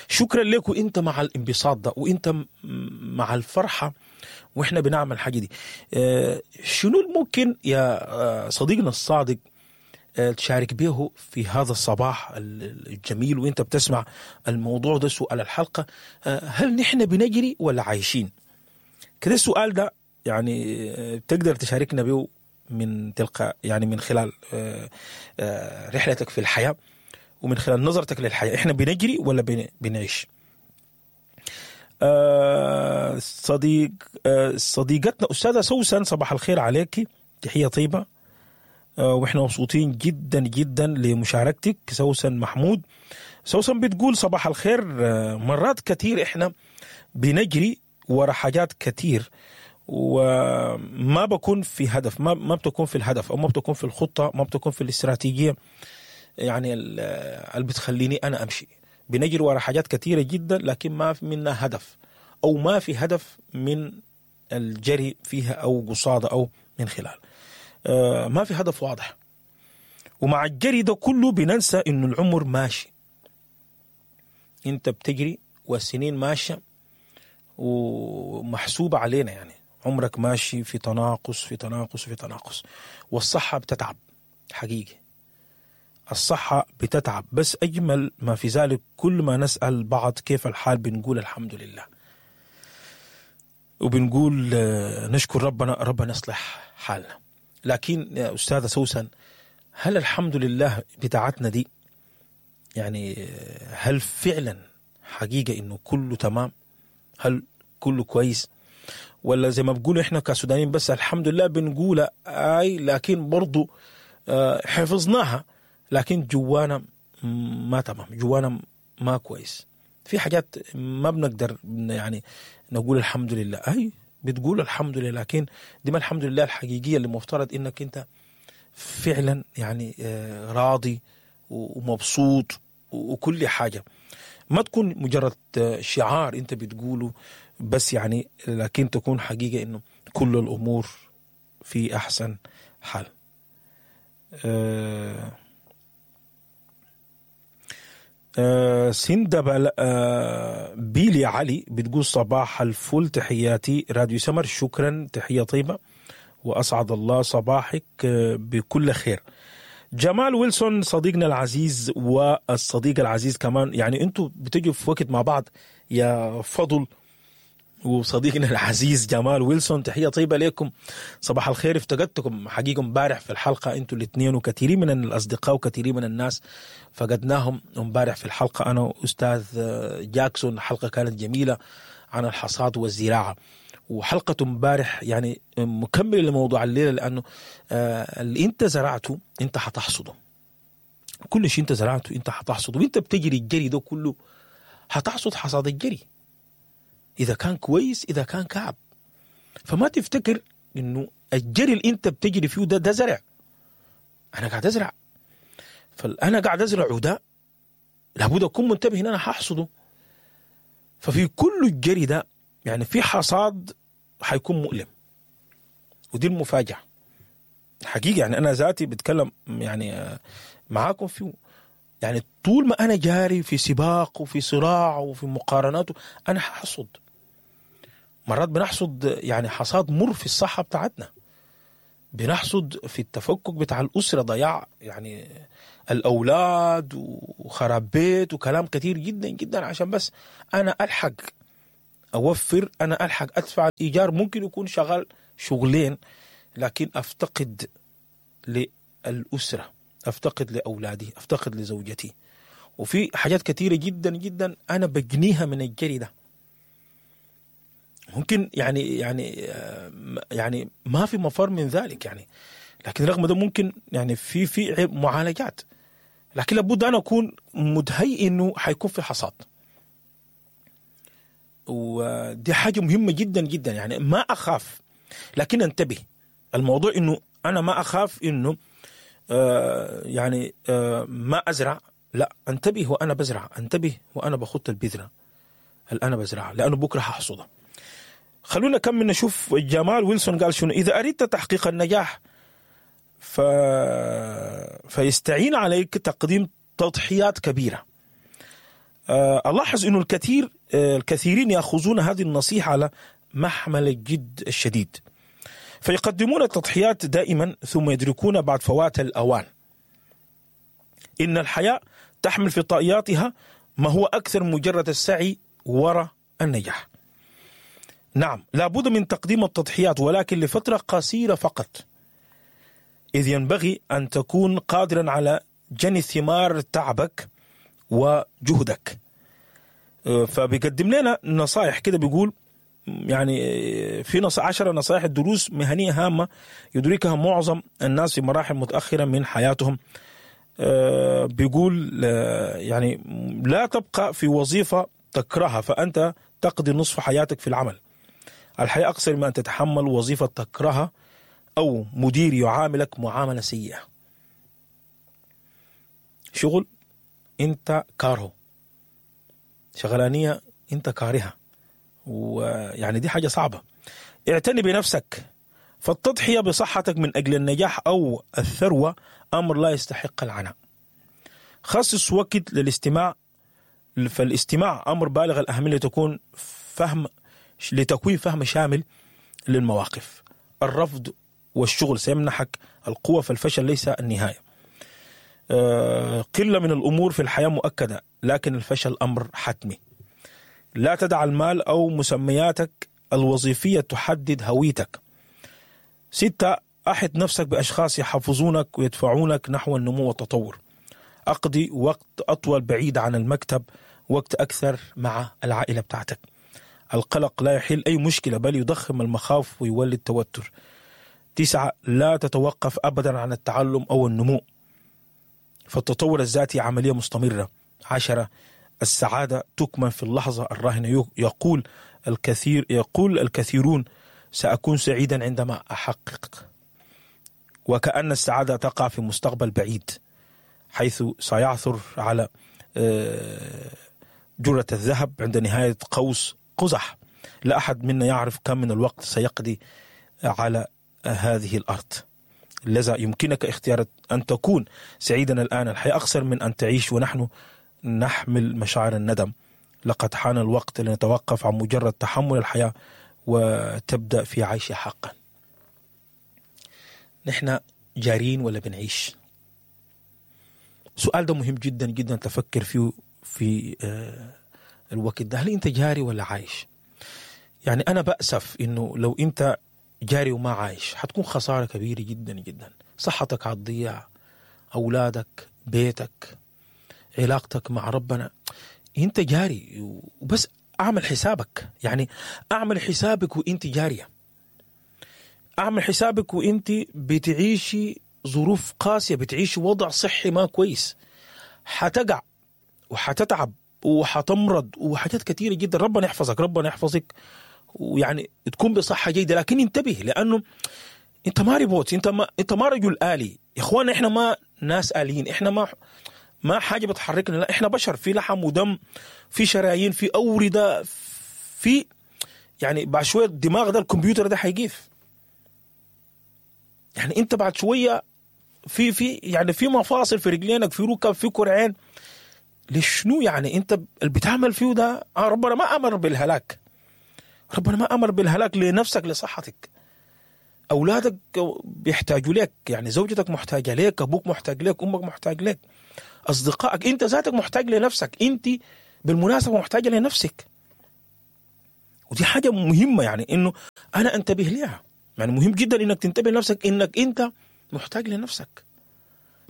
شكرا لك، وانت مع الانبساط ده، وانت مع الفرحة واحنا بنعمل الحاجة دي. شنو الممكن يا صديقنا الصادق تشارك به في هذا الصباح الجميل وانت بتسمع الموضوع ده، سؤال الحلقة، هل نحن بنجري ولا عايشين؟ كده السؤال ده يعني تقدر تشاركنا به من تلقى يعني من خلال رحلتك في الحياة ومن خلال نظرتك للحياة، احنا بنجري ولا بنعيش؟ صديقتنا أستاذة سوسن، صباح الخير عليك، تحية طيبة، واحنا مبسوطين جدا جدا لمشاركتك سوسن محمود. سوسن بتقول صباح الخير، مرات كتير احنا بنجري ورا حاجات كتير وما بكون في هدف، ما بتكون في الهدف، او ما بتكون في الخطة، ما بتكون في الاستراتيجية يعني اللي بتخليني انا امشي. بنجري ورا حاجات كتيرة جدا لكن ما في منها هدف، او ما في هدف من الجري فيها او قصاده او من خلال، ما في هدف واضح. ومع الجري ده كله بننسى انه العمر ماشي، انت بتجري والسنين ماشية ومحسوبة علينا، يعني عمرك ماشي في تناقص في تناقص في تناقص، والصحة بتتعب حقيقي، الصحة بتتعب. بس أجمل ما في ذلك كل ما نسأل بعض كيف الحال بنقول الحمد لله، وبنقول نشكر ربنا، ربنا يصلح حالنا. لكن يا أستاذة سوسن، هل الحمد لله بتاعتنا دي يعني هل فعلا حقيقة إنه كله تمام؟ هل كله كويس؟ ولا زي ما بقولوا إحنا كسودانيين بس الحمد لله بنقول آي، لكن برضو حفظناها، لكن جوانا ما تمام، جوانا ما كويس، في حاجات ما بنقدر يعني نقول الحمد لله. أي بتقول الحمد لله، لكن دي ما الحمد لله الحقيقية اللي مفترض إنك أنت فعلا يعني راضي ومبسوط وكل حاجة، ما تكون مجرد شعار أنت بتقوله بس يعني، لكن تكون حقيقة إنه كل الأمور في أحسن حال. سندة بيلي علي بتقول صباح الفل، تحياتي راديو سمر، شكرا، تحية طيبة وأسعد الله صباحك بكل خير. جمال ويلسون صديقنا العزيز والصديق العزيز كمان، يعني انتوا بتجوا في وقت مع بعض يا فضل وصديقنا العزيز جمال ويلسون، تحية طيبة لكم، صباح الخير. افتقدتكم حقيقة امبارح في الحلقة انتوا الاثنين، وكثيرين من الأصدقاء وكثيرين من الناس فقدناهم امبارح في الحلقة، أنا وأستاذ جاكسون. حلقة كانت جميلة عن الحصاد والزراعة، وحلقة امبارح يعني مكملة لموضوع الليلة، لأنه اللي انت زرعته انت حتحصده، كل شيء انت زرعته انت حتحصده، وانت بتجري الجري ده كله حتحصد حصاد الجري، إذا كان كويس إذا كان كعب. فما تفتكر إنه الجري اللي أنت بتجري فيه ده زرع، أنا قاعد أزرع، فأنا قاعد أزرع وده لابد أكون منتبه إن أنا هحصده. ففي كل الجري ده يعني في حصاد حيكون مؤلم، ودي المفاجأة حقيقة. يعني أنا ذاتي بتكلم يعني معاكم فيه، يعني طول ما أنا جاري في سباق وفي صراع وفي مقارنات أنا هحصد. مرات بنحصد يعني حصاد مر في الصحة بتاعتنا، بنحصد في التفكك بتاع الأسرة، ضياع يعني الأولاد وخراب بيت وكلام كثير جدا جدا، عشان بس أنا ألحق أوفر، أنا ألحق أدفع الإيجار. ممكن يكون شغال شغلين لكن أفتقد للأسرة، أفتقد لأولادي، أفتقد لزوجتي. وفي حاجات كثيرة جدا جدا أنا بجنيها من الجري ده. ممكن يعني يعني يعني ما في مفر من ذلك يعني، لكن رغم ده ممكن يعني في معالجات، لكن لابد أنا أكون متهيئ إنه حيكون في حصاد. ودي حاجة مهمة جدا جدا، يعني ما أخاف، لكن انتبه. الموضوع إنه أنا ما أخاف إنه يعني ما أزرع، لا، انتبه وأنا بزرع، انتبه وأنا بخط البذرة اللي أنا بزرعها، لأنه بكرة هحصدها. خلونا كمل نشوف جمال ويلسون قال شنو. إذا أردت تحقيق النجاح فيستعين عليك تقديم تضحيات كبيرة. ألاحظ أنه الكثيرين يأخذون هذه النصيحة على محمل الجد الشديد، فيقدمون التضحيات دائما ثم يدركون بعد فوات الأوان إن الحياة تحمل في طائياتها ما هو أكثر مجرد السعي وراء النجاح. نعم، لابد من تقديم التضحيات، ولكن لفترة قصيرة فقط، إذ ينبغي أن تكون قادرا على جني ثمار تعبك وجهدك. فبيقدم لنا نصائح كده، بيقول يعني في 10 نصائح دروس مهنية هامة يدركها معظم الناس في مراحل متأخرة من حياتهم. بيقول يعني لا تبقى في وظيفة تكرهها، فأنت تقضي نصف حياتك في العمل. الحياة أقصر من أن تتحمل وظيفة تكرهها أو مدير يعاملك معاملة سيئة. شغل أنت كارهه، شغلانية أنت كارهها، ويعني دي حاجة صعبة. اعتني بنفسك، فالتضحية بصحتك من أجل النجاح أو الثروة أمر لا يستحق العناء. خصص وقت للاستماع، فالاستماع أمر بالغ الأهمية لتكوين فهم شامل للمواقف. الرفض والشغل سيمنحك القوة، فالفشل ليس النهاية. قلة من الأمور في الحياة مؤكدة، لكن الفشل أمر حتمي. لا تدع المال أو مسمياتك الوظيفية تحدد هويتك. 6، أحط نفسك بأشخاص يحفزونك ويدفعونك نحو النمو والتطور. أقضي وقت أطول بعيد عن المكتب، وقت أكثر مع العائلة بتاعتك. القلق لا يحل أي مشكلة، بل يضخم المخاوف ويولد توتر. 9، لا تتوقف أبدا عن التعلم أو النمو، فالتطور الذاتي عملية مستمرة. 10، السعادة تكمن في اللحظة الراهنة. يقول الكثيرون سأكون سعيدا عندما أحقق، وكأن السعادة تقع في مستقبل بعيد، حيث سيعثر على جرة الذهب عند نهاية قوس قزح. لا أحد منا يعرف كم من الوقت سيقضي على هذه الأرض. لذا يمكنك اختيار أن تكون سعيدا الآن. الحياة أقصر من أن تعيش ونحن نحمل مشاعر الندم. لقد حان الوقت لنتوقف عن مجرد تحمل الحياة وتبدأ في عيشها حقا. نحن جارين ولا بنعيش؟ سؤال ده مهم جدا جدا تفكر فيه في الوقت ده. هل أنت جاري ولا عايش؟ يعني أنا بأسف إنه لو أنت جاري وما عايش حتكون خسارة كبيرة جدا جدا. صحتك هتضيع، أولادك، بيتك، علاقتك مع ربنا. أنت جاري وبس. أعمل حسابك، يعني أعمل حسابك وأنت جارية، أعمل حسابك وأنت بتعيشي ظروف قاسية، بتعيشي وضع صحي ما كويس، حتقع وحتتعب وحتمرض وحاجات كثيرة جدا. ربنا يحفظك، ربنا يحفظك، ويعني تكون بصحة جيدة. لكن انتبه، لأنه أنت ما ريبوت، أنت ما رجل آلي. يا إخوان، إحنا ما ناس آليين، إحنا ما حاجة بتحركنا، لا، إحنا بشر، في لحم ودم، في شرايين، في أوردة، في يعني بعد شوية الدماغ ده، الكمبيوتر ده حيجيف. يعني أنت بعد شوية في يعني في مفاصل في رجلينك، في ركب، في كرعين. لشنو يعني أنت اللي بتعمل فيه ده؟ ربنا ما أمر بالهلاك، ربنا ما أمر بالهلاك لنفسك، لصحتك. اولادك بيحتاجوا لك، يعني زوجتك محتاجه لك، ابوك محتاج لك، امك محتاج لك، اصدقائك، انت ذاتك محتاج لنفسك، انت بالمناسبة محتاجه لنفسك. ودي حاجة مهمة يعني انه انا انتبه لها. يعني مهم جدا انك تنتبه لنفسك، انك انت محتاج لنفسك.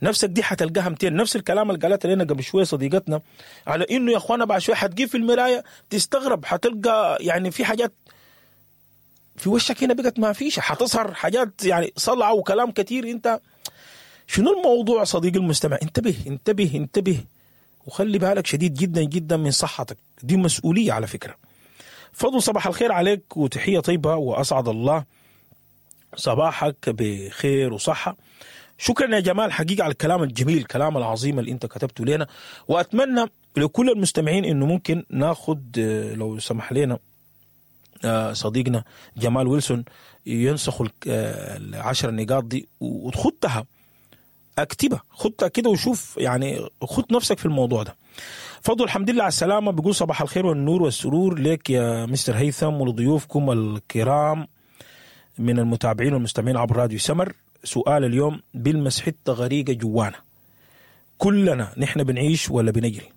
نفسك دي حتلقاها 200. نفس الكلام اللي قالته لنا قبل شوية صديقتنا على انه يا اخوانا بعد شوية حتجيب في المراية تستغرب، حتلقى يعني في حاجات في وشك هنا بقت ما فيش، حتظهر حاجات يعني صلعه وكلام كثير. انت شنو الموضوع صديقي المستمع؟ انتبه انتبه انتبه، وخلي بالك شديد جدا جدا من صحتك، دي مسؤولية على فكرة. فضل صباح الخير عليك وتحية طيبة، واسعد الله صباحك بخير وصحة. شكرا يا جمال حقيقة على الكلام الجميل، الكلام العظيم اللي انت كتبته لنا. واتمنى لكل المستمعين انه ممكن ناخد لو سمح لنا صديقنا جمال ويلسون ينسخ العشر نقاط دي وتخطها، اكتبها، خدها كده وشوف، يعني خد نفسك في الموضوع ده. فضل الحمد لله على السلامة، بيقول صباح الخير والنور والسرور لك يا مستر هيثم ولضيوفكم الكرام من المتابعين والمستمعين عبر راديو سمر. سؤال اليوم: بلمس حتة غريقة جوانا كلنا، نحن بنعيش ولا بنجري؟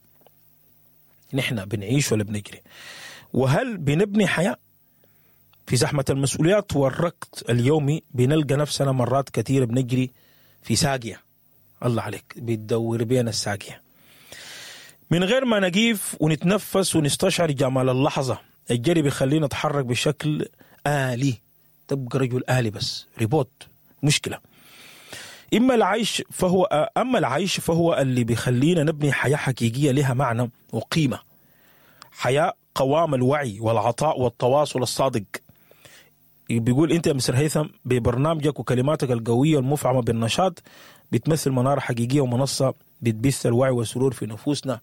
نحن بنعيش ولا بنجري؟ وهل بنبني حياة؟ في زحمة المسؤوليات والركض اليومي بنلقى نفسنا مرات كثيرة بنجري في ساقية. الله عليك، بتدور بينا الساقية من غير ما نقيف ونتنفس ونستشعر جمال اللحظة. الجري بيخلينا نتحرك بشكل آلي، تبقى رجل آلي بس، ريبوت، مشكلة. أما العيش فهو اللي بيخلينا نبني حياة حقيقية لها معنى وقيمة، حياة قوام الوعي والعطاء والتواصل الصادق. بيقول انت يا مستر هيثم ببرنامجك وكلماتك القوية المفعمة بالنشاط بتمثل منارة حقيقية ومنصة بتبث الوعي والسرور في نفوسنا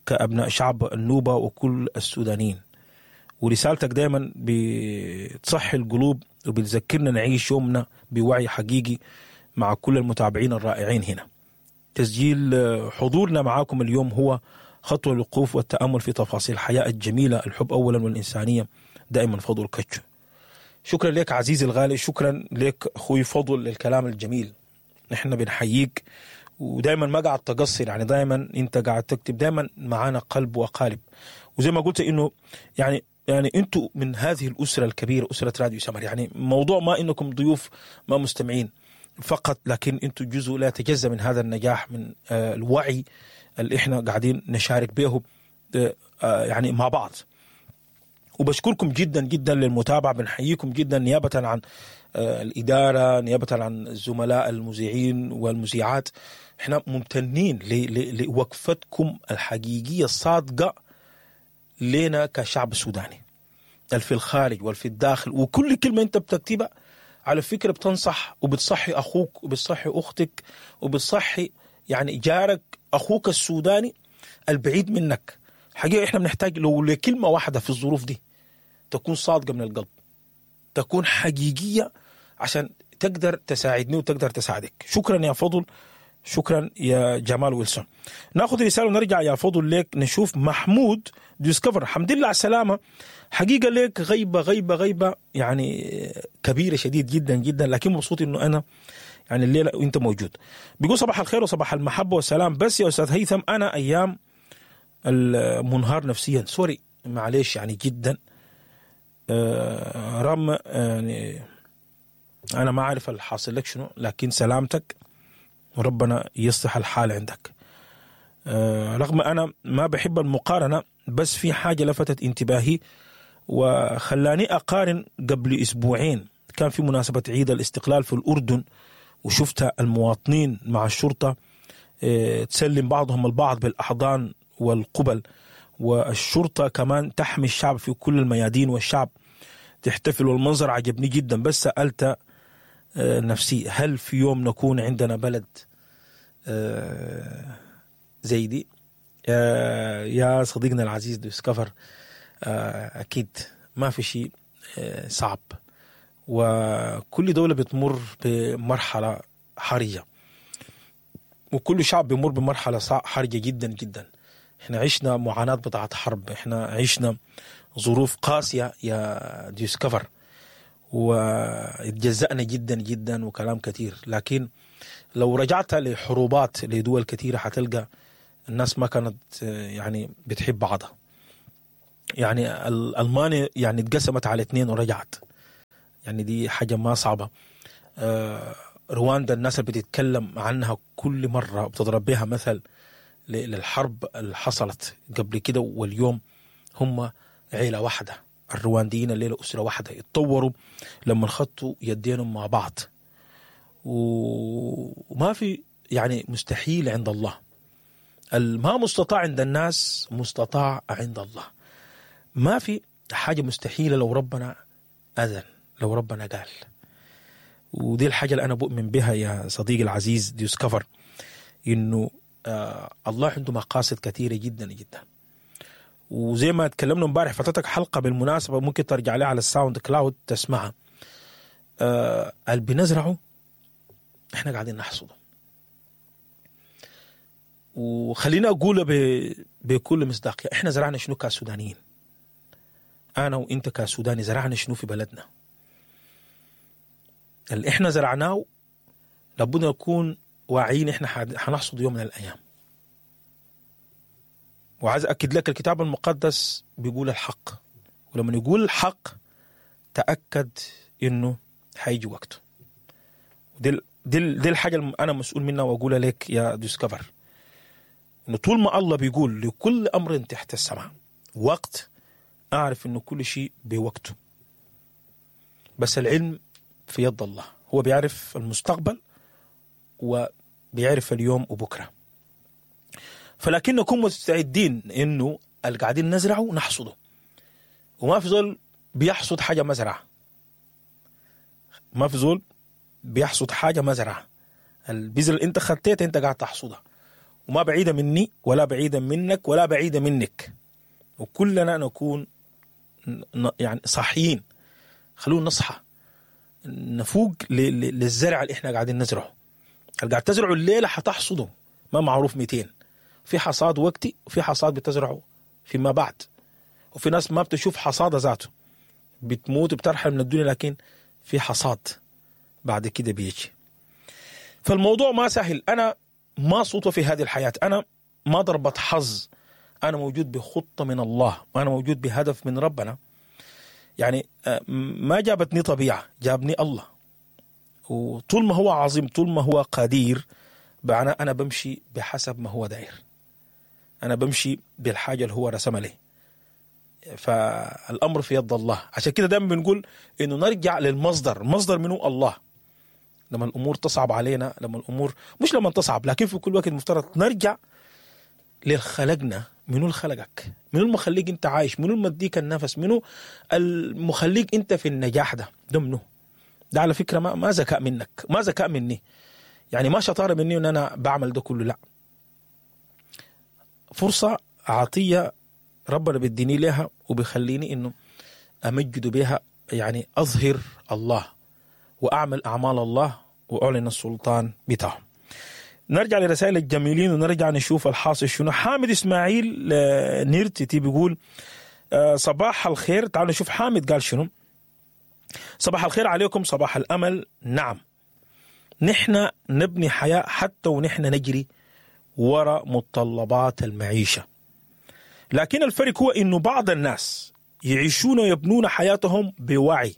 كأبناء شعب النوبة وكل السودانيين. ورسالتك دايما بتصحي القلوب وبتذكرنا نعيش يومنا بوعي حقيقي مع كل المتابعين الرائعين هنا. تسجيل حضورنا معاكم اليوم هو خطوة الوقوف والتأمل في تفاصيل الحياة الجميلة، الحب أولا والإنسانية دائما. فضل كتشو، شكرا لك عزيزي الغالي، شكرا لك أخوي فضل للكلام الجميل. نحن بنحييك، ودائما ما قاعد تقصر، يعني دائما انت قاعد تكتب، دائما معانا قلب وقالب. وزي ما قلت انه يعني انتوا من هذه الأسرة الكبيرة، أسرة راديو سمر. يعني موضوع ما انكم ضيوف ما مستمعين فقط، لكن انتوا جزء لا يتجزأ من هذا النجاح، من الوعي اللي احنا قاعدين نشارك به يعني مع بعض. وبشكركم جدا جدا للمتابعة، بنحييكم جدا نيابة عن الإدارة، نيابة عن الزملاء المذيعين والمذيعات. احنا ممتنين لوقفتكم الحقيقية الصادقة لنا كشعب سوداني، في الخارج والفي الداخل. وكل كلمة انت بتكتبها على فكرة بتنصح وبتصحي أخوك وبتصحي أختك وبتصحي يعني جارك، أخوك السوداني البعيد منك. حقيقة إحنا بنحتاج لو لكلمة واحدة في الظروف دي تكون صادقة من القلب، تكون حقيقية، عشان تقدر تساعدني وتقدر تساعدك. شكرا يا فضل، شكرا يا جمال ويلسون. ناخذ رسالة ونرجع يا فضل ليك، نشوف محمود ديسكفر. الحمد لله على السلامة، حقيقة ليك غيبة غيبة غيبة يعني كبيرة شديد جدا جدا، لكن مبسوط انه انا يعني الليلة وانت موجود. بيقول صباح الخير وصباح المحبة والسلام. بس يا استاذ هيثم انا ايام المنهار نفسيا، sorry معليش يعني جدا، رغم يعني انا ما عارف الحاصل لك شنو، لكن سلامتك وربنا يصلح الحال عندك. رغم أنا ما بحب المقارنة، بس في حاجة لفتت انتباهي وخلاني أقارن. قبل أسبوعين كان في مناسبة عيد الاستقلال في الأردن، وشفت المواطنين مع الشرطة تسلم بعضهم البعض بالأحضان والقبل، والشرطة كمان تحمي الشعب في كل الميادين والشعب تحتفل، والمنظر عجبني جدا. بس سألت نفسي، هل في يوم نكون عندنا بلد زي دي؟ يا صديقنا العزيز ديسكفر، أكيد ما في شيء صعب، وكل دولة بتمر بمرحلة حرجة، وكل شعب بيمر بمرحلة حرجة جدا جدا. احنا عشنا معاناة بتاعت حرب، احنا عشنا ظروف قاسية يا ديسكفر، واتجزأنا جدا جدا وكلام كثير. لكن لو رجعت لحروبات لدول كثيرة حتلقى الناس ما كانت يعني بتحب بعضها. يعني ألمانيا يعني اتقسمت على 2 ورجعت، يعني دي حاجة ما صعبة. رواندا الناس اللي بتتكلم عنها كل مرة بتضرب بها مثل للحرب اللي حصلت قبل كده، واليوم هم عيلة واحدة. الروانديين الليلة أسرة واحدة، اتطوروا لما خطوا يدينهم مع بعض. وما في يعني مستحيل عند الله، ما مستطاع عند الناس مستطاع عند الله. ما في حاجة مستحيلة لو ربنا أذن، لو ربنا قال. ودي الحاجة اللي أنا بؤمن بها يا صديقي العزيز ديسكفر، إنه الله عنده مقاصد كثيرة جدا جدا. وزي ما تكلمنا امبارح، فاتتك حلقة بالمناسبة ممكن ترجع لها على ال SoundCloud تسمعها. اللي بنزرعه احنا قاعدين نحصده. وخلينا أقول بكل مصداقية، احنا زرعنا شنو كسودانيين؟ أنا وإنت كسوداني زرعنا شنو في بلدنا؟ اللي احنا زرعناه لابد نكون واعيين احنا حنحصد يوم من الأيام. وعايز أكد لك الكتاب المقدس بيقول الحق، ولما يقول الحق تأكد إنه حيجي وقته. دي الحاجة اللي أنا مسؤول منها وأقولها لك يا ديسكفر، إنه طول ما الله بيقول لكل أمر تحت السماء وقت، أعرف إنه كل شيء بوقته. بس العلم في يد الله، هو بيعرف المستقبل وبيعرف اليوم وبكرة. فلكن نكون مستعدين إنه اللي قاعدين نزرعه نحصده، وما في زول بيحصد حاجة مزرعة، ما في زول بيحصد حاجة مزرعة. البذرة اللي انت خطيتها انت قاعد تحصدها، وما بعيدة مني ولا بعيدة منك ولا بعيدة منك، وكلنا نكون يعني صاحيين. خلونا نصحى نفوق للزرع اللي احنا قاعدين نزرعه. اللي قاعد تزرعه الليلة حتحصده، ما معروف 200. في حصاد وقتي وفي حصاد بتزرعه فيما بعد، وفي ناس ما بتشوف حصادة ذاته، بتموت وبترحل من الدنيا، لكن في حصاد بعد كده بيجي. فالموضوع ما سهل. أنا ما صوت في هذه الحياة، أنا ما ضربة حظ، أنا موجود بخطة من الله، وأنا موجود بهدف من ربنا. يعني ما جابتني طبيعة، جابني الله. وطول ما هو عظيم، طول ما هو قدير، بمعنى أنا بمشي بحسب ما هو داير، أنا بمشي بالحاجة اللي هو رسمها لي. فالأمر في يد الله. عشان كده دائما بنقول إنه نرجع للمصدر، المصدر منه الله. لما الأمور تصعب علينا، لما الأمور مش لما تصعب، لكن في كل وقت مفترض نرجع للخلقنا. منو الخلقك؟ منو المخليك أنت عايش؟ منو المديك النفس؟ منو المخليك أنت في النجاح ده؟ ده منو؟ ده على فكرة ما ذكاء منك، ما ذكاء مني، يعني ما شطارة مني إن أنا بعمل ده كله، لا. فرصة عطية ربنا بيديني لها وبيخليني إنه أمجد بها، يعني أظهر الله وأعمل أعمال الله وأعلن السلطان بتاعه. نرجع لرسائل الجميلين ونرجع نشوف الحاصل شنو. حامد إسماعيل نيرتي بيقول صباح الخير. تعالوا نشوف حامد قال شنو. صباح الخير عليكم، صباح الأمل. نعم، نحن نبني حياة حتى ونحن نجري وراء متطلبات المعيشة، لكن الفرق هو إنه بعض الناس يعيشون ويبنون حياتهم بوعي،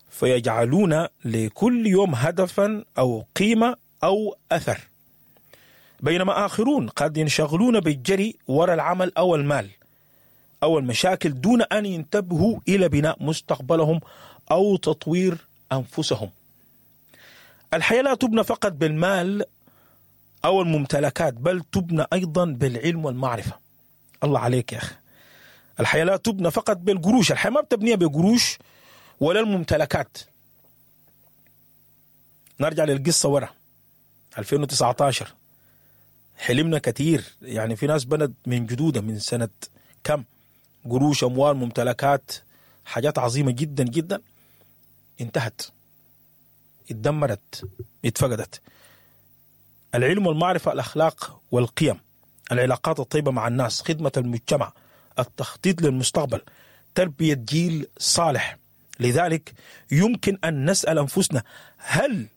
فيجعلون لكل يوم هدفا أو قيمة أو أثر، بينما آخرون قد ينشغلون بالجري وراء العمل أو المال أو المشاكل دون أن ينتبهوا إلى بناء مستقبلهم أو تطوير أنفسهم. الحياة لا تبنى فقط بالمال أو الممتلكات، بل تبنى أيضا بالعلم والمعرفة. الله عليك يا أخي. الحياة لا تبنى فقط بالقروش، الحياة ما بتبنيها بقروش ولا الممتلكات. نرجع للقصة ورا 2019، حلمنا كثير، يعني في ناس بنت من جدودها من سنة كم قروش، أموال، ممتلكات، حاجات عظيمة جدا جدا، انتهت، اتدمرت، اتفقدت. العلم والمعرفة، الأخلاق والقيم، العلاقات الطيبة مع الناس، خدمة المجتمع، التخطيط للمستقبل، تربية جيل صالح، لذلك يمكن أن نسأل أنفسنا: هل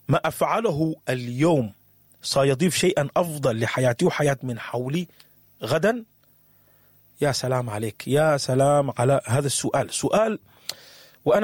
ما أفعله اليوم سيضيف شيئا أفضل لحياتي وحياة من حولي غدا؟ يا سلام عليك، يا سلام على هذا السؤال. سؤال